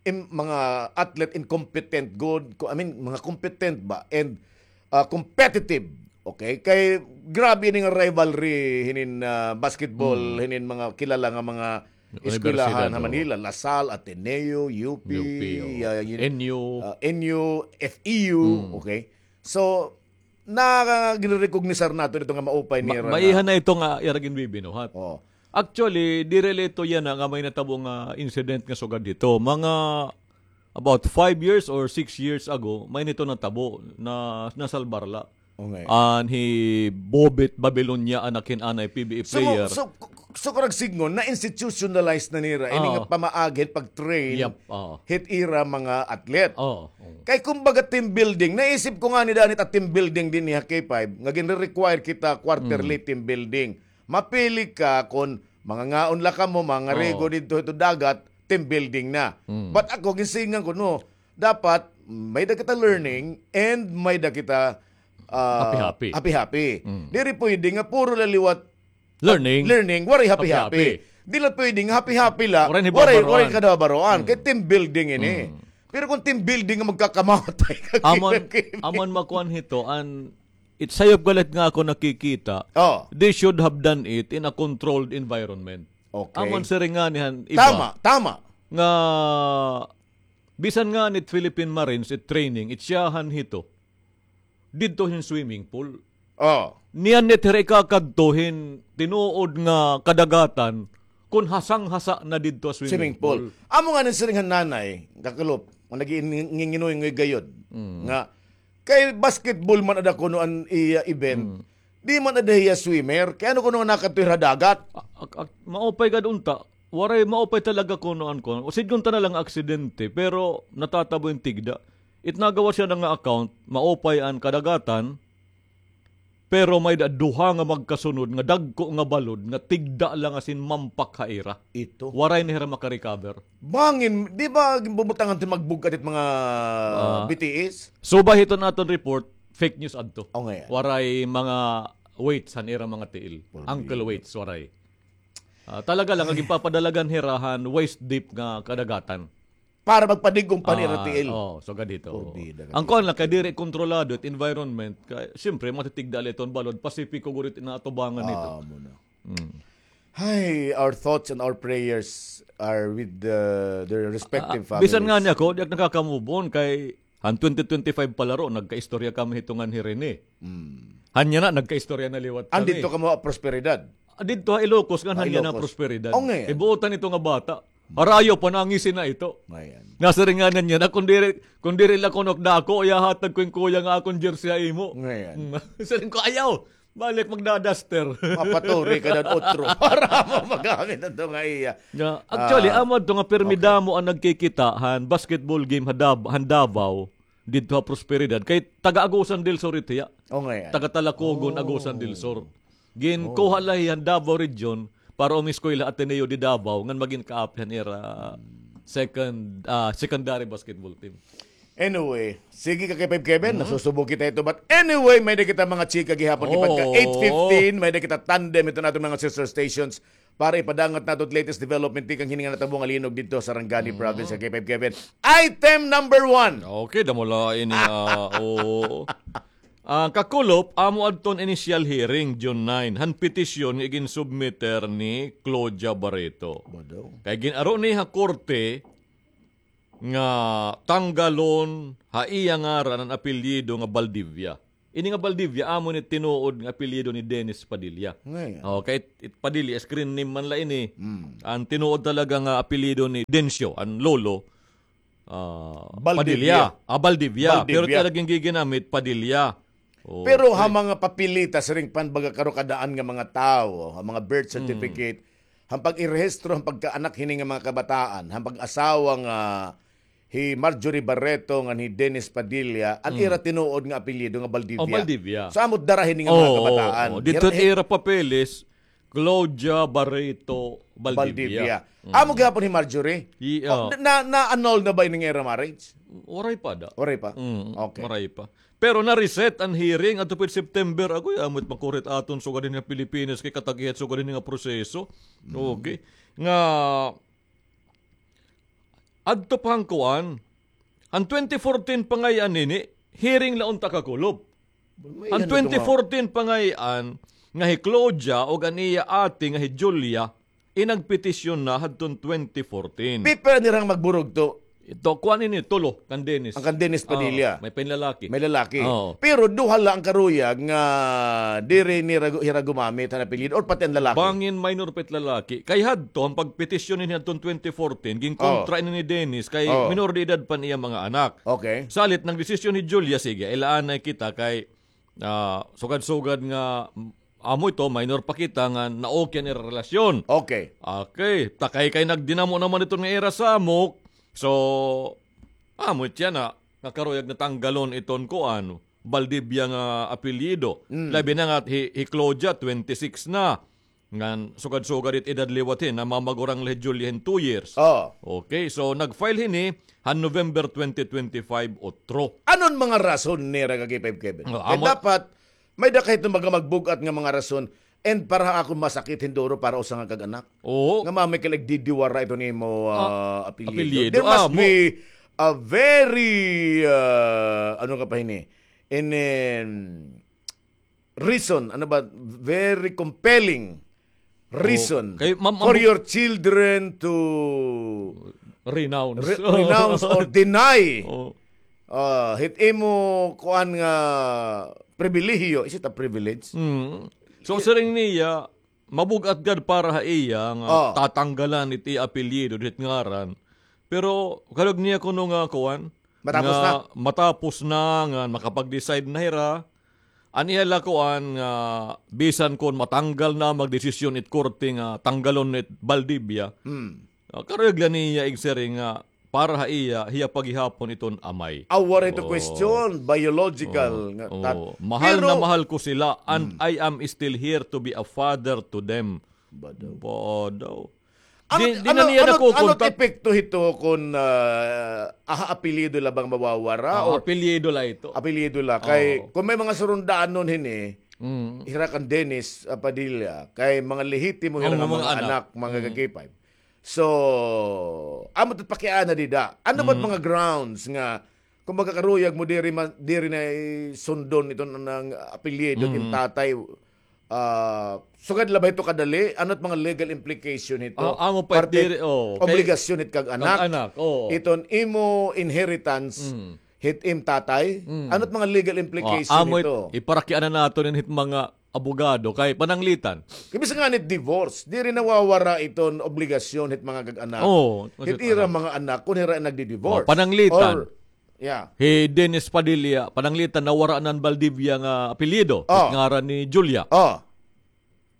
im-, mga athlete incompetent gud, ko-, I mean, mga competent ba and, ah, competitive. Okay? Kay grabe ini nga rivalry hinin, ah, basketball, hinin mga kilala nga mga eskwelahan ha Manila, La Salle, Ateneo, U P, U P, oo. Ah, yun, N U. Ah, N U, F E U, okay? So, na ginrecognisar nato dito nga maupay nira. Maiha na ito nga ira ginbibinuhat. Oo. Actually, diri la ito yana nga may natabo nga incident nga sugad dito. Mga about five years or six years ago, may nito natabo na nasalbar la. Okay. An hi Bobet Babilonia, anak hin anay P B A player. So, so, so, kurang sidngon, na-institutionalize na nira ini nga pamaagi hit pag-train hit ira mga athlete. Kay kumbaga team building, naisip ko ngani daan it team building dinhi ha K five, nga ginre-require kita quarterly team building. Mapili ka kon mangangaon la kamo, mangarigo didto hito dagat, team building na. But ako, ginsilingan ko, no, dapat may-ada kita learning and may-ada kita, ah, happy-happy. Happy-happy. Diri pwede nga puro la liwat learning, waray happy-happy. Di la pwede nga happy-happy la, waray, waray kadabaroan. Kay team building ini. Pero kon team building nga magkakamatay ka, amon, amon makuan hito, an, it sayop galit nga ako nakikita, they should have done it in a controlled environment. Okay. Amon siring ngani han iba. Tama, tama. Nga, bisan ngani it Philippine Marines, it training, it siyahan hito. Didto hin swimming pool. Oh. Niyan nit hira ikakadto hin tinuod nga kadagatan, kon hasang-hasa na didto ha swimming pool. Amo nga nasiring han nanay, kakulop, nga nag-iingingingoy-ngoy gayod, nga, kay basketball man ada kuno an iya event, di man ada hiya swimmer, kay ano kuno nga nakadto hira ha dagat? A-, ak-, ak-, maupay gad unta, waray, maupay talaga kuno an kuno. O sidngon ta na la nga aksidente, pero natatabo hin tigda. It nagawas yana nga account, maupay an kadagatan, pero may-ada duha nga magkasunod nga dagko nga balod nga tigda la nga sinmampak ha ira. Ito. Waray na hira makarecover. Bangin, di ba ginbubutangan iton magbug-at it mga B T S? Subay hiton aton report, fake news adto. O, ngay-an. Waray mga weights han ira mga tiil. Ankle weights, waray. Ah, talaga la nga ginpapadalagan hira han waist deep nga kadagatan. Para magpadig-ong pa nira tiil. Oh, sugad hito. Porbida ka. An kuan la, kay diri kontrolado it environment, kay siyempre matitigda la iton balod, Pasipiko gud it inaatubangan hito. Amo na. Hay, our thoughts and our prayers are with the, their respective families. Ah, bisan ngani ako, di ak nakaka-move on kay han twenty twenty-five palaro, nagkaistorya kami hito ngan hi Rene. Han yana, nagkaistorya na liwat kami. Andito kamo ha Prosperidad? Ah, didto ha Ilocos, ngan han yana Prosperidad. O, ngay-an. Ibuotan ito nga bata. Harayo pa, nangisi na ito. Nasiring ngani niya na, kon diri, kon diri la kuno ak dako, ihahatag ko hin kuya nga akon jersey ha imo. Siring ko, ayaw. Balik magda-duster. Mapaturi ka daw otro para mo magamit adto nga iya. Actually, amo adto nga pirmi damo an nagkikita han basketball game ha Dab-, han Davao, didto ha Prosperidad. Kay taga Agusan del Sur ito hiya. O, ngay-an. Taga Talacogon, Agusan del Sur. Ginkuha la hiya han Davao Region para umiskwela Ateneo de Davao ngan magin kaapi han ira second, ah, secondary basketball team. Anyway, sige ka K five Kevin, nasusubo kita hito. But anyway, may-ada kita mga chika gihapon, kay pagka eight fifteen, may-ada kita tandem hito naton mga sister stations para ipadangat nato it latest development tikang hini nga natabo nga linog didto ha Sarangani Province, ka K five Kevin. Item number one. Okay, damo la ini, ah, oo. An kakulop, amo adton initial hearing, June nine, han petisyon nga iginsubmiter ni Claudia Barreto. Kay gin-aro ni ha korte nga tanggalon ha iya ngaran an apelyido nga Valdivia. Ini nga Valdivia, amo ni tinuod nga apelyido ni Dennis Padilla. Ngay-an. Oh, kay it, it Padilla, screen name man la ini. Mm. An tinuod talaga nga apelyido ni Dencio, an lolo, ah, Valdivia. Padilla. Ah, Valdivia. Valdivia. Pero talagang giginamit, Padilla. Oh, pero ha mga papeleta, siring pa hin baga karukadaan nga mga tawo, ha mga birth certificate, han pag-irehistro, han pagkaanak hini nga mga kabataan, han pag-asawa nga hi Marjorie Barreto ngan hi Dennis Padilla, an ira tinuod nga apelyido nga Valdivia. Oh, Valdivia. So, amo it dara hini nga mga kabataan. Oo, oo. Didto hira, ira papeles, Claudia Barreto Valdivia. Valdivia. Mm. Amo gihapon hi Marjorie? Iya. Oh, na, na-annul na ba ini nga ira marriage? Waray pa da. Waray pa? Mm, okay. Waray pa. Pero na-reset an hearing adto pa September. Agoy, amo it makurit aton sugad hini nga Pilipinas kay katag-iya it sugad hini nga proseso. Mm. Okay. Nga adto pa han kuan, an twenty fourteen pa ngay-an ini, hearing la unta kakulop. An twenty fourteen pa ngay-an, nga hi Claudia ug an iya ate nga hi Julia, inagpetisyon na hadton twenty fourteen. Pipira nirang magburugto? Ito, kuan ini, tulo, kan Dennis. An kan Dennis Padilla. Oo, may panlalaki. May lalaki. Oo. Pero duha la an karuyag nga diri nira gu-, hira gumamit han apelyido or pati an lalaki? Bangin minor pa it lalaki. Kay hadto, an pagpetisyon ini hadton twenty fourteen, ginkontra ini ni Dennis, kay minor de edad pa an iya mga anak. Okay. Salit, nagdesisyon hi Julia, sige, ilaanay kita kay ah, sugad-sugad nga, mm, amo ito, minor pa kita nga na-okay an ira relasyon. Okay. Okay, ta kay, kay nagdinamo naman iton nga ira samok. So, amo it yana, nga karuyag na tanggalon iton kuan, Valdivia nga apelyido. Mm. Labi na nga hi, hi Claudia, twenty-six na. Ngan sugad-sugad it edad liwat hin, namamagurang la hi Julia hin two years. Oo. Okay, so nag-file hini han November twenty twenty-five, utro. Ano an mga rason nira, K five Kevin? Ah, kay amo dapat, may-ada kay iton mga magbug-at nga mga rason, and para ha akon masakit hin duro para usa nga kag-anak. Oo. Nga mamay ka nagdidiwara iton imo, ah, apelyido. Apelyido. There must be a very, ah, ano ka pa hini? In, in, reason, ano ba, very compelling reason for your children to renounce, renounce or deny, ah, hit imo kuan nga pribilehiyo. Is it a privilege? Mm. So, siring niya, mabug-at gad para ha iya nga tatanggalan it iya apelyido, hit ngaran. Pero, karuyag niya kuno nga kuan, matapos na, matapos na, nga makapag-decide na hira, an iya la kuan nga bisan kon matanggal na, magdesisyon it korte nga tanggalon it Valdivia. Hmm. Ah, karuyag la niya igsiring nga para ha iya, hiya pa gihapon iton amay. Aw, waray ito question, biological nga tat-, mahal na mahal ko sila, and I am still here to be a father to them. Badaw. Badaw. Ano, di, di na niya nakukontak. Ano epekto hito kon, ah, aha, apelyido la bang mawawara? Ah, apelyido la ito. Apelyido la. Kay, kon may mga surundanon hini, hira kan Dennis, ah, Padilla, kay mga lehitimo hira nga mga anak, mga ka-K five. So, amo ito pakiana dida. Ano ba mga grounds nga, kung magkakaruyag mo, diri ma-, diri na isundon ito ng apelyido, yung tatay, ah, sugad la ba ito kadali? Ano it mga legal implication hito? Ah, amo pa, parte diri, oh, kay obligasyon it kag-anak. Kag-anak, oh. Iton imo inheritance, hit im tatay? Ano it mga legal implication hito? Iparakiana naton hit mga abogado kay pananglitan. Kay bisan ngani divorce, diri nawawara iton obligasyon hit mga kag-anak. Oo, hit ira mga anak, kon hira nagdi-divorce. Oh, pananglitan. Or, yeah. Hi Dennis Padilla, pananglitan nawara na an Valdivia nga apelyido, hit ngaran ni Julia. Oh.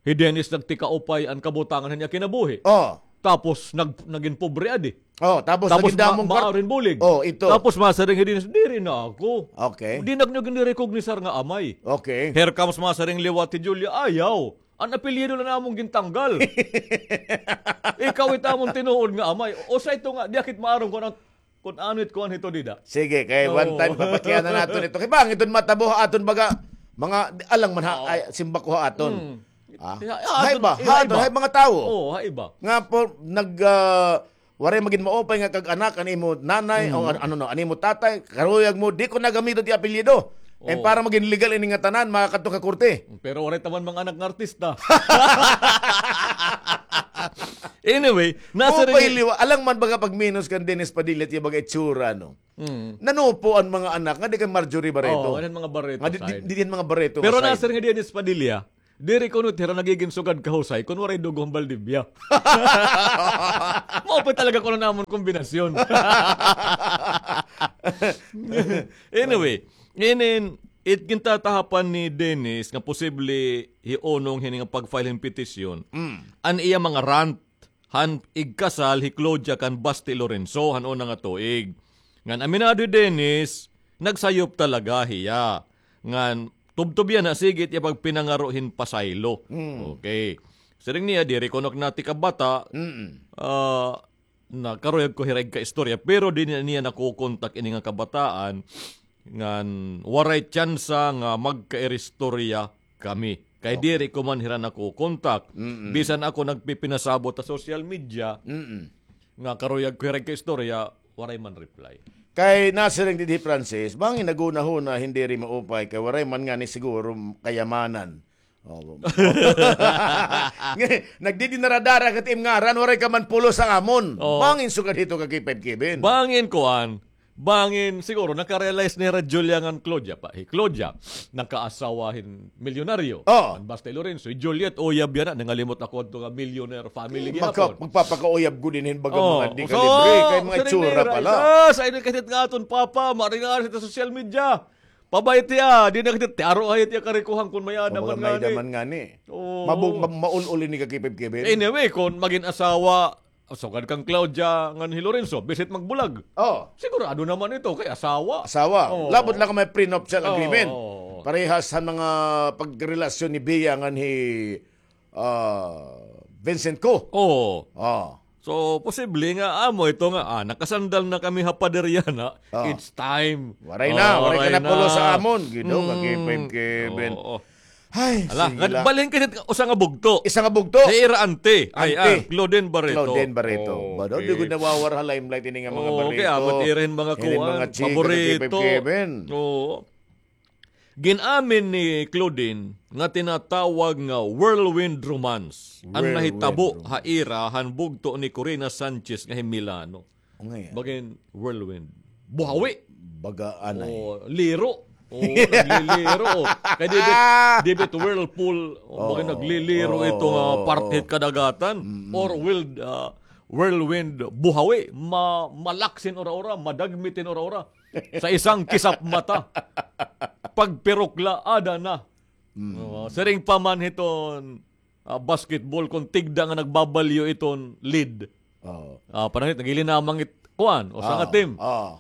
Hi Dennis nagtikaupay an kabutangan han iya kinabuhi. Oh. Tapos nag-, nagin pobre adi. Oh, tapos nagin damong ma-, maarin bulig. Oh, ito. Tapos masiring hi Dennis, diri na ako. Okay. Di na niyo ginrecognisar nga amay. Okay. Here comes masiring liwat hi Julia, ayaw. An apelyido la namon gintanggal. Ikaw it amon tinuod nga amay. Usa ito nga, di akit maaram kon an, kon ano it kuan hito dida. Sige, kay one time, papakiana naton ito. Kay bangin iton matabo ha aton baga, mga, alang man ha, ay, simbako ha aton. Hmm. Ah? Hay ba? Ha aton, hay mga tawo. Oo, hay ba? Nga po, nag, ah, waray magin maupay nga kag-anak, an imo nanay, o an-, ano no, an imo tatay, karuyag mo, di ko nagamiton ti apelyido. And para magin legal ini nga tanan, makakadto ka korte. Pero waray taman mga anak nga artista. Anyway, nasa Maupay rin liwa. Alang man baga pagminos kan Dennis Padilla, tiya baga itsura, no? Mm. Nanupo an mga anak nga di kay Marjorie Barreto. Oo, an mga Barreto Nga di, di, side. Di, di an mga Barreto Pero nga side. Nasa rin nga Dennis Padilla, diri kuno hira nagigin sugad kahusay kun waray dugo han Valdivia. Maupay talaga kuno namon kombinasyon. Anyway, inin, it gintatahapan ni Dennis nga posible hiunong hini nga pag-file hin petisyon. Mm. An iya mga rant han igkasal hi Claudia kan Basti Lorenzo han una nga tuig. Ngan aminado hi Dennis, nagsayop talaga hiya. Ngan tubtob hiya na sige it iya pagpinangaro hin pasaylo. Mm. Okay. Siring niya, diri kuno ak nati kabata, Mm-mm. ah, nakaruyag ko hira igkaistorya, pero di na niya nakukontak ini nga kabataan, ngan waray tsansa nga magkairistorya kami. Kay Okay. diri ko man hira nakukontak. Mm-mm. Bisan ako nagpipinasabot ha social media, Mm-mm. nga karuyag ko hira igkaistorya, waray man reply. Kay nasiring didi Francis, bangin naghunahuna, hin diri maupay, kay waray man ngani siguro kayamanan. Oh. Nagdidinaradara ka tim ngaran, waray ka man pulos ha amon. Oh. Bangin sugad hito ka K five Kevin. Bangin kuan, bangin siguro nakarealize ni Ra Julia ngan Claudia pa. Hi Claudia, nakaasawa hin milyonaryo. Oh. An Basti Lorenzo, hi Juliet, uyab yana, nangalimot ako adto nga millionaire family Magka, gihapon. Magpapakauyab ko din hin baga Oh, mga di so, kalibre, kay mga siring itsura nira, pala. Isa, sa ini katit nga aton papa, maringar sa social media. Pabay tiya, di na katit, tiaro ay tiya karikuhan kun may-ada man ngani. Kun may-ada man ngani. Oo. Mabu-, ma-, maul-ul ini ka K five Kevin. Anyway, kun magin asawa, sugad kan Claudia ngan hi Lorenzo, bisit magbulag. Oh. Sigurado naman ito kay asawa. Asawa. Oo. Labot lang kay may prenuptial Oo, agreement. Oo. Parehas han mga pagrelasyon ni Bea ngan hi, ah, Vincent Co. Oo. Oh. So, posible nga amo ito nga, ah, nakasandal na kami ha pader yana. Oh. It's time. Waray na, Oh, waray ka waray na pulos na. sa amon. Gido, Mm. ka K five Kevin. Oo. Ay, Ala, sige nga, la. balhin ka usa nga bugto. Isa nga bugto. Sa ira ante. Ay, Ante. ah, Claudine Barreto. Claudine Barreto. Okay. Ba, di gud nawawara ha limelight ini nga mga Oo, Barreto. kaya amo ira hin mga Ini kuan, mga chika, paborito. Kevin. Oo. Gin-amin ni Claudine nga tinatawag nga whirlwind romance an Whirlwind nahitabo romance. ha ira han bugto ni Corina Sanchez nga hi Milano. Ungay, ah. Bagin whirlwind. Buhawi. Baga anay. O, liro. O, nagliliro. O. Kay di bit, di bit whirlpool. O, Oo. bagin nagliliro Oo, ito nga oo, parte oo. hit kadagatan. Mm-mm. Or wild, ah, whirlwind buhawi. Ma-, malaksin ora-ora, madagmitin ora-ora. Sa isang kisap mata. Pagpirok la, ada na. Mm. Oo, siring pa man hiton ah, basketball, kun tigda nga nagbabalyo iton lead. Oo. Ah, panahon it, nagilinamang it, kuan, usa nga Ah, team. ah.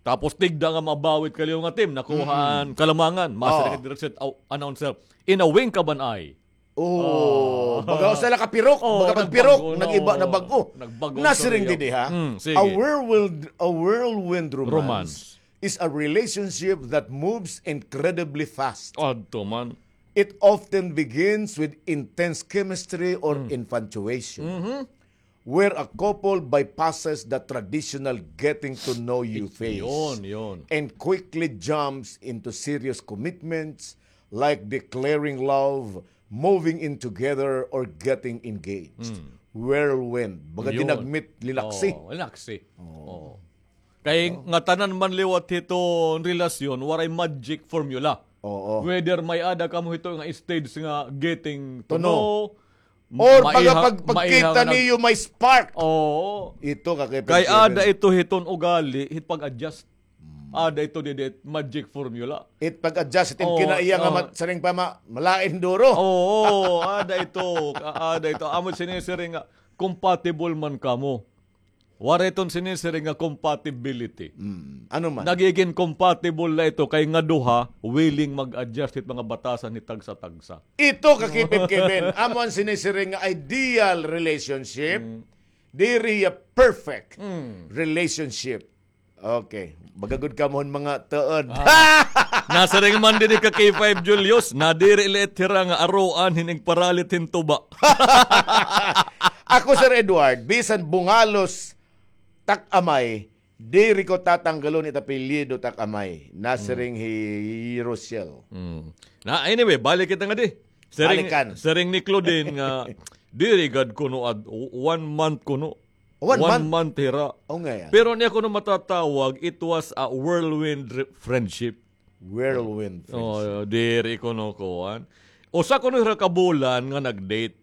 Tapos tigda nga mabawit kaliyo nga team, nakuhaan, Mm-mm. kalamangan. Masiring Ah. it diri sa, aw, announcer, "In a wink of an eye." Oh, Ah. baga usa la ka pirok, Oh, baga pagpirok, nagbago, nag-iba no. na bag-o. Nagbago Nasiring tuloy didi, ha? Mm, sige. A whirlwind, a whirlwind romance Romance. is a relationship that moves incredibly fast. Adto man. It often begins with intense chemistry or Mm. infatuation, Mm-hmm. where a couple bypasses the traditional getting to know you It, phase yun, yun. and quickly jumps into serious commitments like declaring love, moving in together, or getting engaged. Mm. Whirlwind. Baga Yun. dinagmit, linaksi. Oo, linaksi. Oo. Oo. Kay Ano? nga tanan man liwat hiton relasyon, waray magic formula. Oo. Whether may-ada kamo hito nga stage nga getting to To know. know, Or maiha-, baga pag-, pagkita maiha nga nag- niyo may spark. Oo. Ito ka kay Kay ada ito hiton ugali, hit pag-adjust. Hmm. Ada ito didi magic formula. It pag-adjust, it Oo, kinaiya nga oo. mat-, siring pa ma-, malain duro. Oo, ada ito, a-, ada ito. Amo sinisiring nga, compatible man kamo. Waray iton sinisiring nga compatibility. Mm, ano man? Nagigin compatible la ito kay nga duha willing mag-adjust hit mga batasan hit tagsa-tagsa. Ito ka Kevin, Kevin. Amo an sinisiring nga ideal relationship. Mm. Diri ya perfect Mm. relationship. Okay. Baga gud kamo hin mga tuod. Ah. Nasiring man didi ka K five Julius, nadiri la it hira nga aruan hin igparalit hin tuba. Ako, Sir Edward, bisan Bungalos tak amay, diri ko tatanggalon it apelyido tak amay. Nasiring hi Rochelle. Mm. Na, anyway, balik kita ngadi. Siring, Balikan. siring ni Claudine nga, Diri gad kuno ad, one month kuno. One One month? month hira. O, nga yan. Pero niya kuno matatawag, it was a whirlwind re-, friendship. Whirlwind friendship. O, diri kuno kuan. Usa kuno hira ka bulan nga nag-date.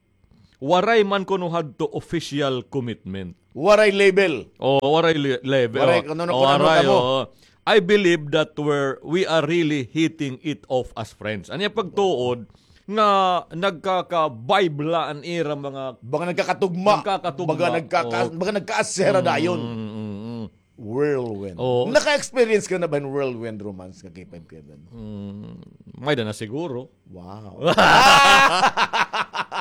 Waray man kuno hadto official commitment. Waray label. O, waray li-, label. Waray O, kuno, o, kuno waray, kamo. o. I believe that we're, we are really hitting it off as friends. Ania pagtuod nga nagkaka-vibe la an ira mga Baga nagkakatugma. nagkakatugma. Baga nagkaka-, Oo. baga nagkaasera dayon. Mm, mm, mm. Whirlwind. Oo. Naka-experience ka na ba hin whirlwind romance nga K five Kevin? Mm, may da na siguro. Wow.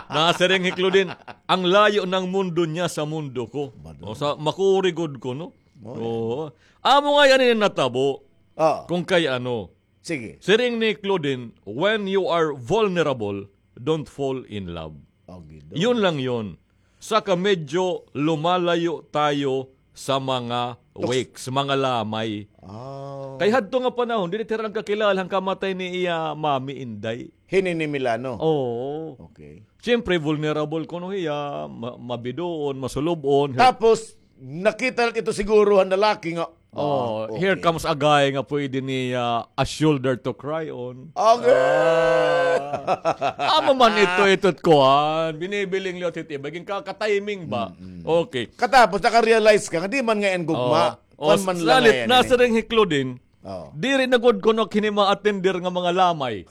Nasiring hi Claudine, "Ang layo ng mundo niya sa mundo ko." Bado. O, sa, makuri gud ko, no? Oo. Oo. Amo nga yan yung natabo. Oo. Kung kay ano. Sige. Siring ni Claudine, "When you are vulnerable, don't fall in love." Agido. Yun lang yun. Saka medyo lumalayo tayo sa mga Toks- wakes, mga lamay. Ah. Kay hadto nga panahon, dili tira nagkakilala han kamatay ni iya mami, inday. Hini ni Milano? Oo. Okay. Siyempre, vulnerable kuno hiya, ma-, mabidoon, masulub-on. Tapos, nakita na ito siguro han lalaki nga, Oh, ah, okay. Here comes a guy nga pwede niya a shoulder to cry on. Okay. Ah. Amo man ito, ito't kuan. Binibiling liwat hit iba. Ginka-, ka-timing ba? Mm, mm. Okay. Katapos, naka-realize ka nga, di man nga yan gugma. Oh, oh, Kuan man lang salit, nga yan, eh. nasiring hi Claudine, Oh. Diri na gud kuno kini ma-attender nga mga lamay.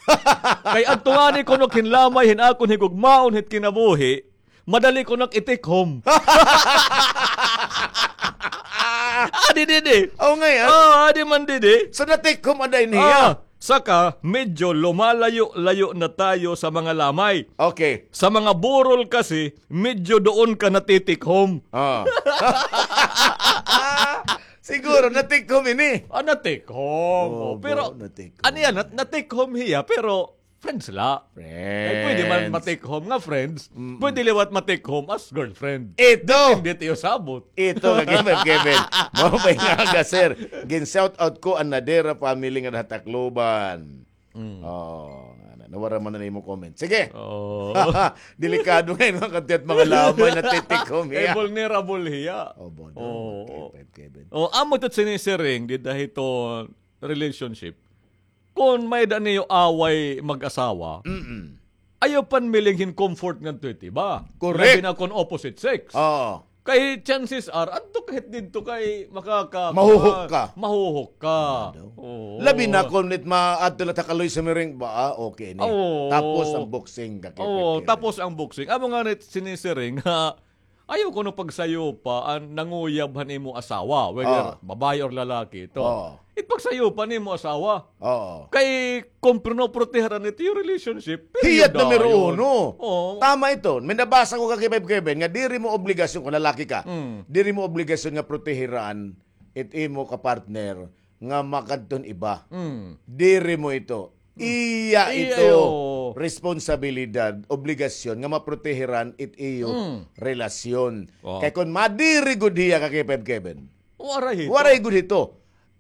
Kay adto ngani kuno hin lamay, hin akon higugmaon hit kinabuhi, madali kuno it-take home. Ah, di, di, di. Oh, ngay, ah. Oh, adi man, di, di. So, na-take home ada ini, Ah, ah. saka, medyo lumalayo-layo na tayo sa mga lamay. Okay. Sa mga burol kasi, medyo doon ka nati-take home. Ah. Siguro, na-take home ini. Ah, na-take home. Oh, Oh, pero, bro, na-take ano home. yan? Na-, na-take home hiya, pero friends la. Friends. Ay, pwede man ma-take home nga friends. Mm-mm. Pwede liwat ma-take home as girlfriend. Ito. Depende tiyo sabot. Ito, Kevin, Kevin. Mao ba nga aga, sir? Gin-shout out ko an Nadera family nga Tacloban. Mm. Oh, ano, nawara man na imo comment. Sige. Oh. Delikado ngay-an, mga kadiyot, mga lamay na titikom Eh, hiya. vulnerable hiya. Oh, bodo. Oh. Kevin, Kevin. Oh, amo ito sinisiring, dida hito relationship. Kung may-ada niyo away mag-asawa, Mm-mm. ayaw panmiling hin comfort ngadto hit iba. Correct. Labi na kung opposite sex. Oo. Kay chances are, adto ka hit didto kay makaka-, Mahuhok ka. mahuhok ka. Ano? Oo. Labi na kung nit ma-, adto la ta kaloy sumiring ba, ah, okay ni. Oo. Tapos ang boxing, ka-, Oo, ka-, tapos ang boxing. Amo nga nit sinisiring, ha, ayaw kuno pagsayupa an nanguyab han imo asawa, whether Ah. babaye or lalaki ito. Ah. It pagsayupa nimo asawa. Oo. Kay kung pinoproteharan ito yung relationship, period Hiyat numero dayon. uno. Oo. Tama ito. May nabasa ko ka Kevin, Kevin, nga diri mo obligasyon kung lalaki ka. Mm. Diri mo obligasyon nga protehiran it imo ka partner nga makadton iba. Mm. Diri mo ito. Iya Iya ito. iyo. Responsibilidad, obligasyon nga maprotehiran it iyo Mm. relasyon. Oh. Kay kung madiri gud hiya ka Kevin, Kevin. Waray hito. Waray gud hito.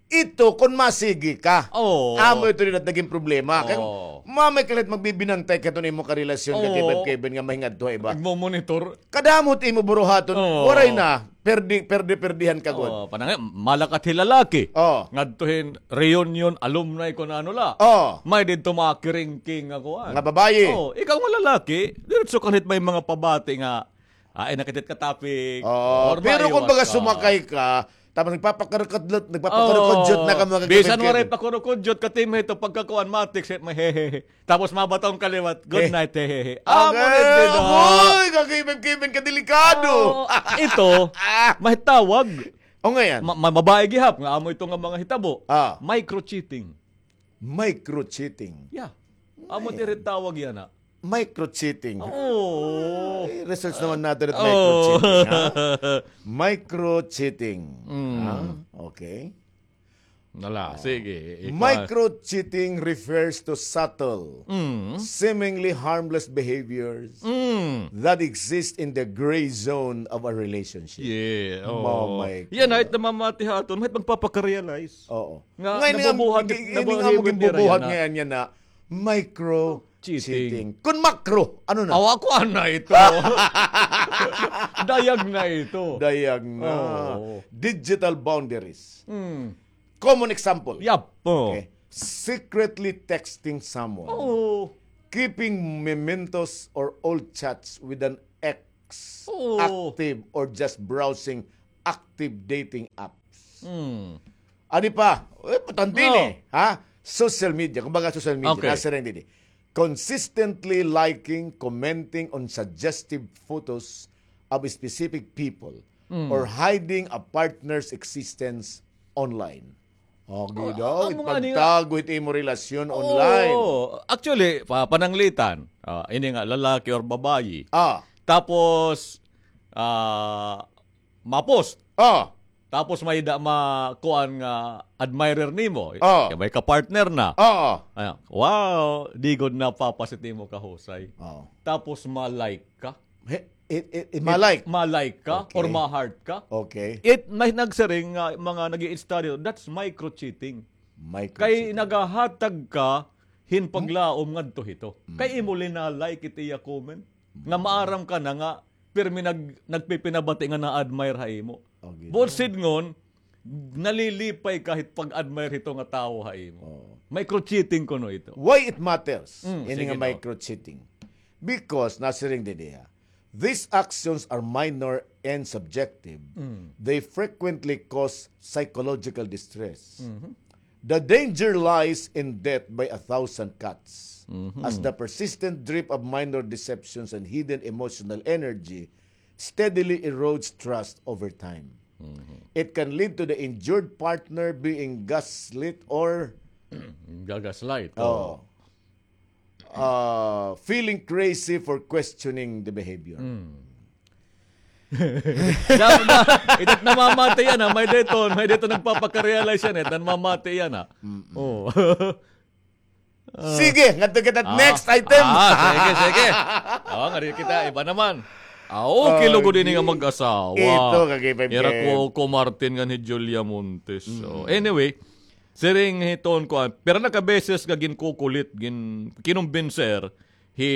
Ito, kung masigi ka. Oo. Amo ito din at naging problema. Kay Oo. mamay ka la't magbibinantay ka ito na imo karelasyon ka Oo. Kevin, Kevin nga mahingadto ha iba. Nagmomonitor. Kadamot imo buruhaton. Oo. Waray na. Perdi, perdi, perdihan ka gud. Oo, panangay, malakat hi lalaki. Oo. Ngadto hin reunion, alumni, kung ano la. Oo. May didto mga kiringking nga kuan. Nga babayi. Oo, ikaw nga lalaki, diretso ka nit may mga pabati nga, ah, ay, nakit it ka topic. Oo, Or pero maiwas kung baga ka. sumakay ka, tapos nagpapakarukudlot, nagpapakarukudjot Oo. na ka mga Bisan kagamitan. waray pakurukudyot ka, team, ito pagkakuan, matik, si-, mahehehe. Tapos mabaton ka liwat, "Good Eh. night, hehehe." Amo Okay. na din, ah. Hoy, kakibin-kibin ka, delikado. Oo, ito, Ah. mahitawag. O nga yan. Ma-, ma-, mabae gihap nga amo ito nga mga hitabo. Ah. Micro-cheating. Micro-cheating. Yeah. Amo Ay. diri tawag yana. Micro-cheating. Oo. Ay, research naman natin at Oo. micro-cheating, ha? Micro-cheating. Mm. Ha? Okay. Nala, Oh. sige, ikaw. Micro-cheating refers to subtle, Mm. seemingly harmless behaviors Mm. that exist in the gray zone of a relationship. Yeah, oo. Mamay Yan, ka. ay, namamati ha aton, may magpapaka-realize. Oo. Nga, Ngayon nga, nabubuhat, gi-, gi-, nabubuhat nga mo, ginbubuhat yana. ngayon yan na micro Cheating. Cheating. Kun makro, ano na? Awa ko, ana ito. Dayag na ito. Dayag na. Oo. Digital boundaries. Hmm. Common example. Yap. Oo. Okay. Secretly texting someone. Oo. Keeping mementos or old chats with an ex Oo. active or just browsing active dating apps. Hmm. Adi pa, eh, patandi ni, ha? Social media, kumbaga social media, Okay. nasiring didi. Consistently liking, commenting on suggestive photos of specific people Mm. or hiding a partner's existence online. Agi Oh, daw, amo nga ni nga. Ipagtago it imo relasyon Oo. online. Actually, pa-, pananglitan, ah, ini nga lalaki or babayi. Ah. Tapos, ah, ma-post. Ah. Tapos may da-, ma-, kuan nga admirer nimo. Ah. Kay may ka-partner na. Ah. Ayan. Wow, di gud na papasit nimo kahusay. Ah. Tapos ma-like ka. He, it, it, it, It ma-like. ma-like ka Okay. or ma-heart ka. Okay. It, may nagsiring nga mga nag-i-study, that's micro-cheating. Micro-cheating. Kay nagahatag ka hin paglaom ngadto hito. Mm. Kay imo lina-like it iya comment. Nga Mm. maaram ka na nga, pirmi nag-, nagpipinabati nga na-admire ha imo. Okay. Buot sidngon, nalilipay ka hit pag-admire hito nga tawo ha imo. Oo. Micro-cheating kuno ito. Why it matters? Mm, Ini sige nga daw. micro-cheating. Because, nasiring didi ha, these actions are minor and subjective. Mm. They frequently cause psychological distress. Mhm. The danger lies in death by a thousand cuts, Mhm. as the persistent drip of minor deceptions and hidden emotional energy steadily erodes trust over time. Mhm. It can lead to the injured partner being gaslit or Gagaslight. Oh. Oh. Uh, feeling crazy for questioning the behavior. Mm. Dapat na, ito't namamati yana, may dayton, may dayton nagpapaka-realize yana, ito't namamati yana. Mm-mm. Oh. Ah. Sige, ngadto kita Ah. next item. Ah, sige, sige. Oh, ngari kita, iba naman. Ah, okay, Okay. lugod ini nga mag-asawa. Ito, kagipay Ira ko, ko Martin ngan hi Julia Montes. So, Mm. anyway, siring hiton kuan, pira na ka beses nga ginkukulit, gin-, kinumbinser hi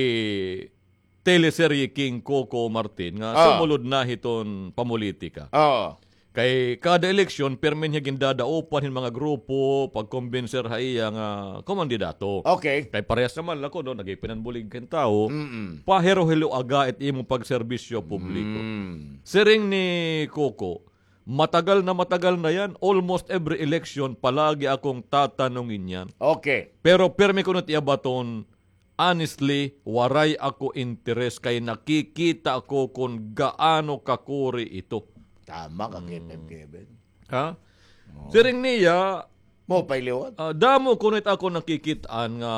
teleserye King Coco Martin nga Ah. sumulod na hiton pamulitika. Ah. Kay kada eleksyon, pirmi niya gindadaupan hin mga grupo, pagkumbinser ha iya nga kumandidato. Okay. Kay parehas naman la kuno, nagipinanbulig hin tawo, Mm-mm. pahilo-hiloaga it imo pagserbisyo publiko. Mm. Siring ni Coco, matagal na matagal na yan, almost every election, palagi akong tatanungin yan. Okay. Pero pirmi kuno it iya baton, honestly, waray ako interes kay nakikita ko kon gaano kakuri ito. Tama ka, Hmm. Kevin, Kevin. Ha? Oo. Siring niya, Maupay liwat. ah, damo kuno it ako nakikit-an nga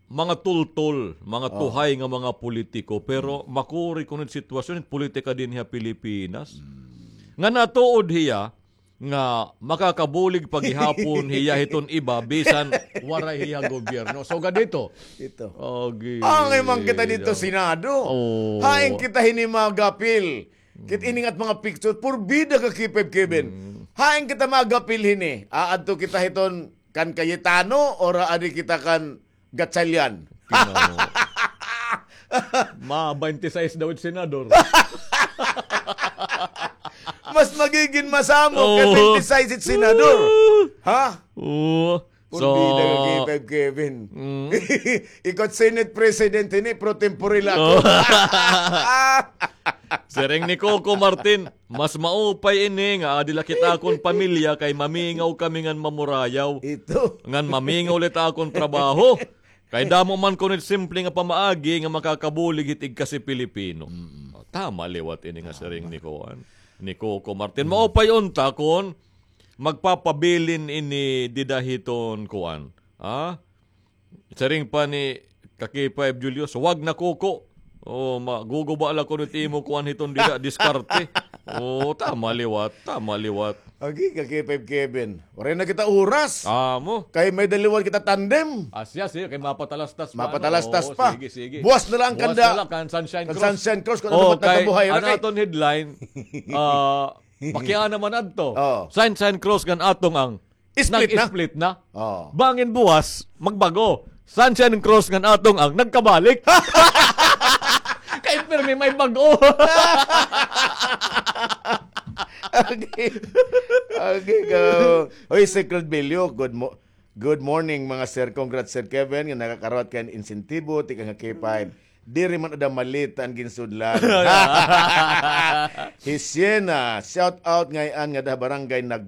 mga tultol, mga Oh. tuhay nga mga politiko, pero Hmm. makuri kuno it sitwasyon, it politika dinhi ha Pilipinas. Hmm. Nga natuod hiya, nga makakabulig pa gihapon hiya hiton iba bisan waray hiya gobyerno. So, ganito. Ito. Agi. Angay man kita didto, Senado. Oo. Hain kita hini magapil. Kit ini ngat mga picture, purbida ka, Kevin. Mm. Hain kita magapil hini. Aadto kita hiton kan Cayetano, or adi kita kan Gatchalian. Ginoo. Ma, twenty-six daw it senador. Mas magiging masamo ka Oo. twenty-six it senador. Oo. Ha? Oo. Purbida ka, So, K five Kevin. Mm. Ikaw Senate President ini, pro tempore la ako. Oo. Siring ni Coco Martin, Mas maupay ini nga adi la kita akon pamilya kay mamingaw kami ngan mamurayaw. Ito. Ngan mamingaw la it akon trabaho. Kay damo man kuno it simple nga pamaagi nga makakabulig hit igkasi Pilipino. Mm-mm. O, tama liwat ini nga Tama. siring ni kuan, ni Coco Martin. Mm. Maupay unta kon magpapabilin ini dida hiton kuan. Ha? Siring pa ni Kaki Five Julius, "Wag na, Coco. O, maguguba la kuno it imo kuan hiton dida, diskarte." O, tama liwat, tama liwat. Agi, Kaki Five Kevin. Waray na kita oras. Amo. Kay may-ada liwat kita tandem. Asya, sige, kay mapatalastas pa, ano? Mapatalastas Oo, pa. sige, sige. Buwas na lang Buwas kanda. na lang kan Sunshine Kan Cross. Sunshine Cross, kung ano Oh, ba kay, tagabuhay, ano okay? aton headline? Ah, makiana man adto. Oo. Sunshine Cross kan atong ang Split na. Nag-split na. Oo. Bangin buwas, magbago. Sunshine Cruz ngan atong ang nagkabalik. Kay pirmi may bag-o. Okay. Okay, go. Hoy, Secret Bilyo, good mo good morning, mga sir. Congrats, Sir Kevin, nga nakakarawat kan insentibo tikang ha K five. Diri man ada malita an ginsudlan. Hi Siena, shout out ngay-an ngada ha barangay Nag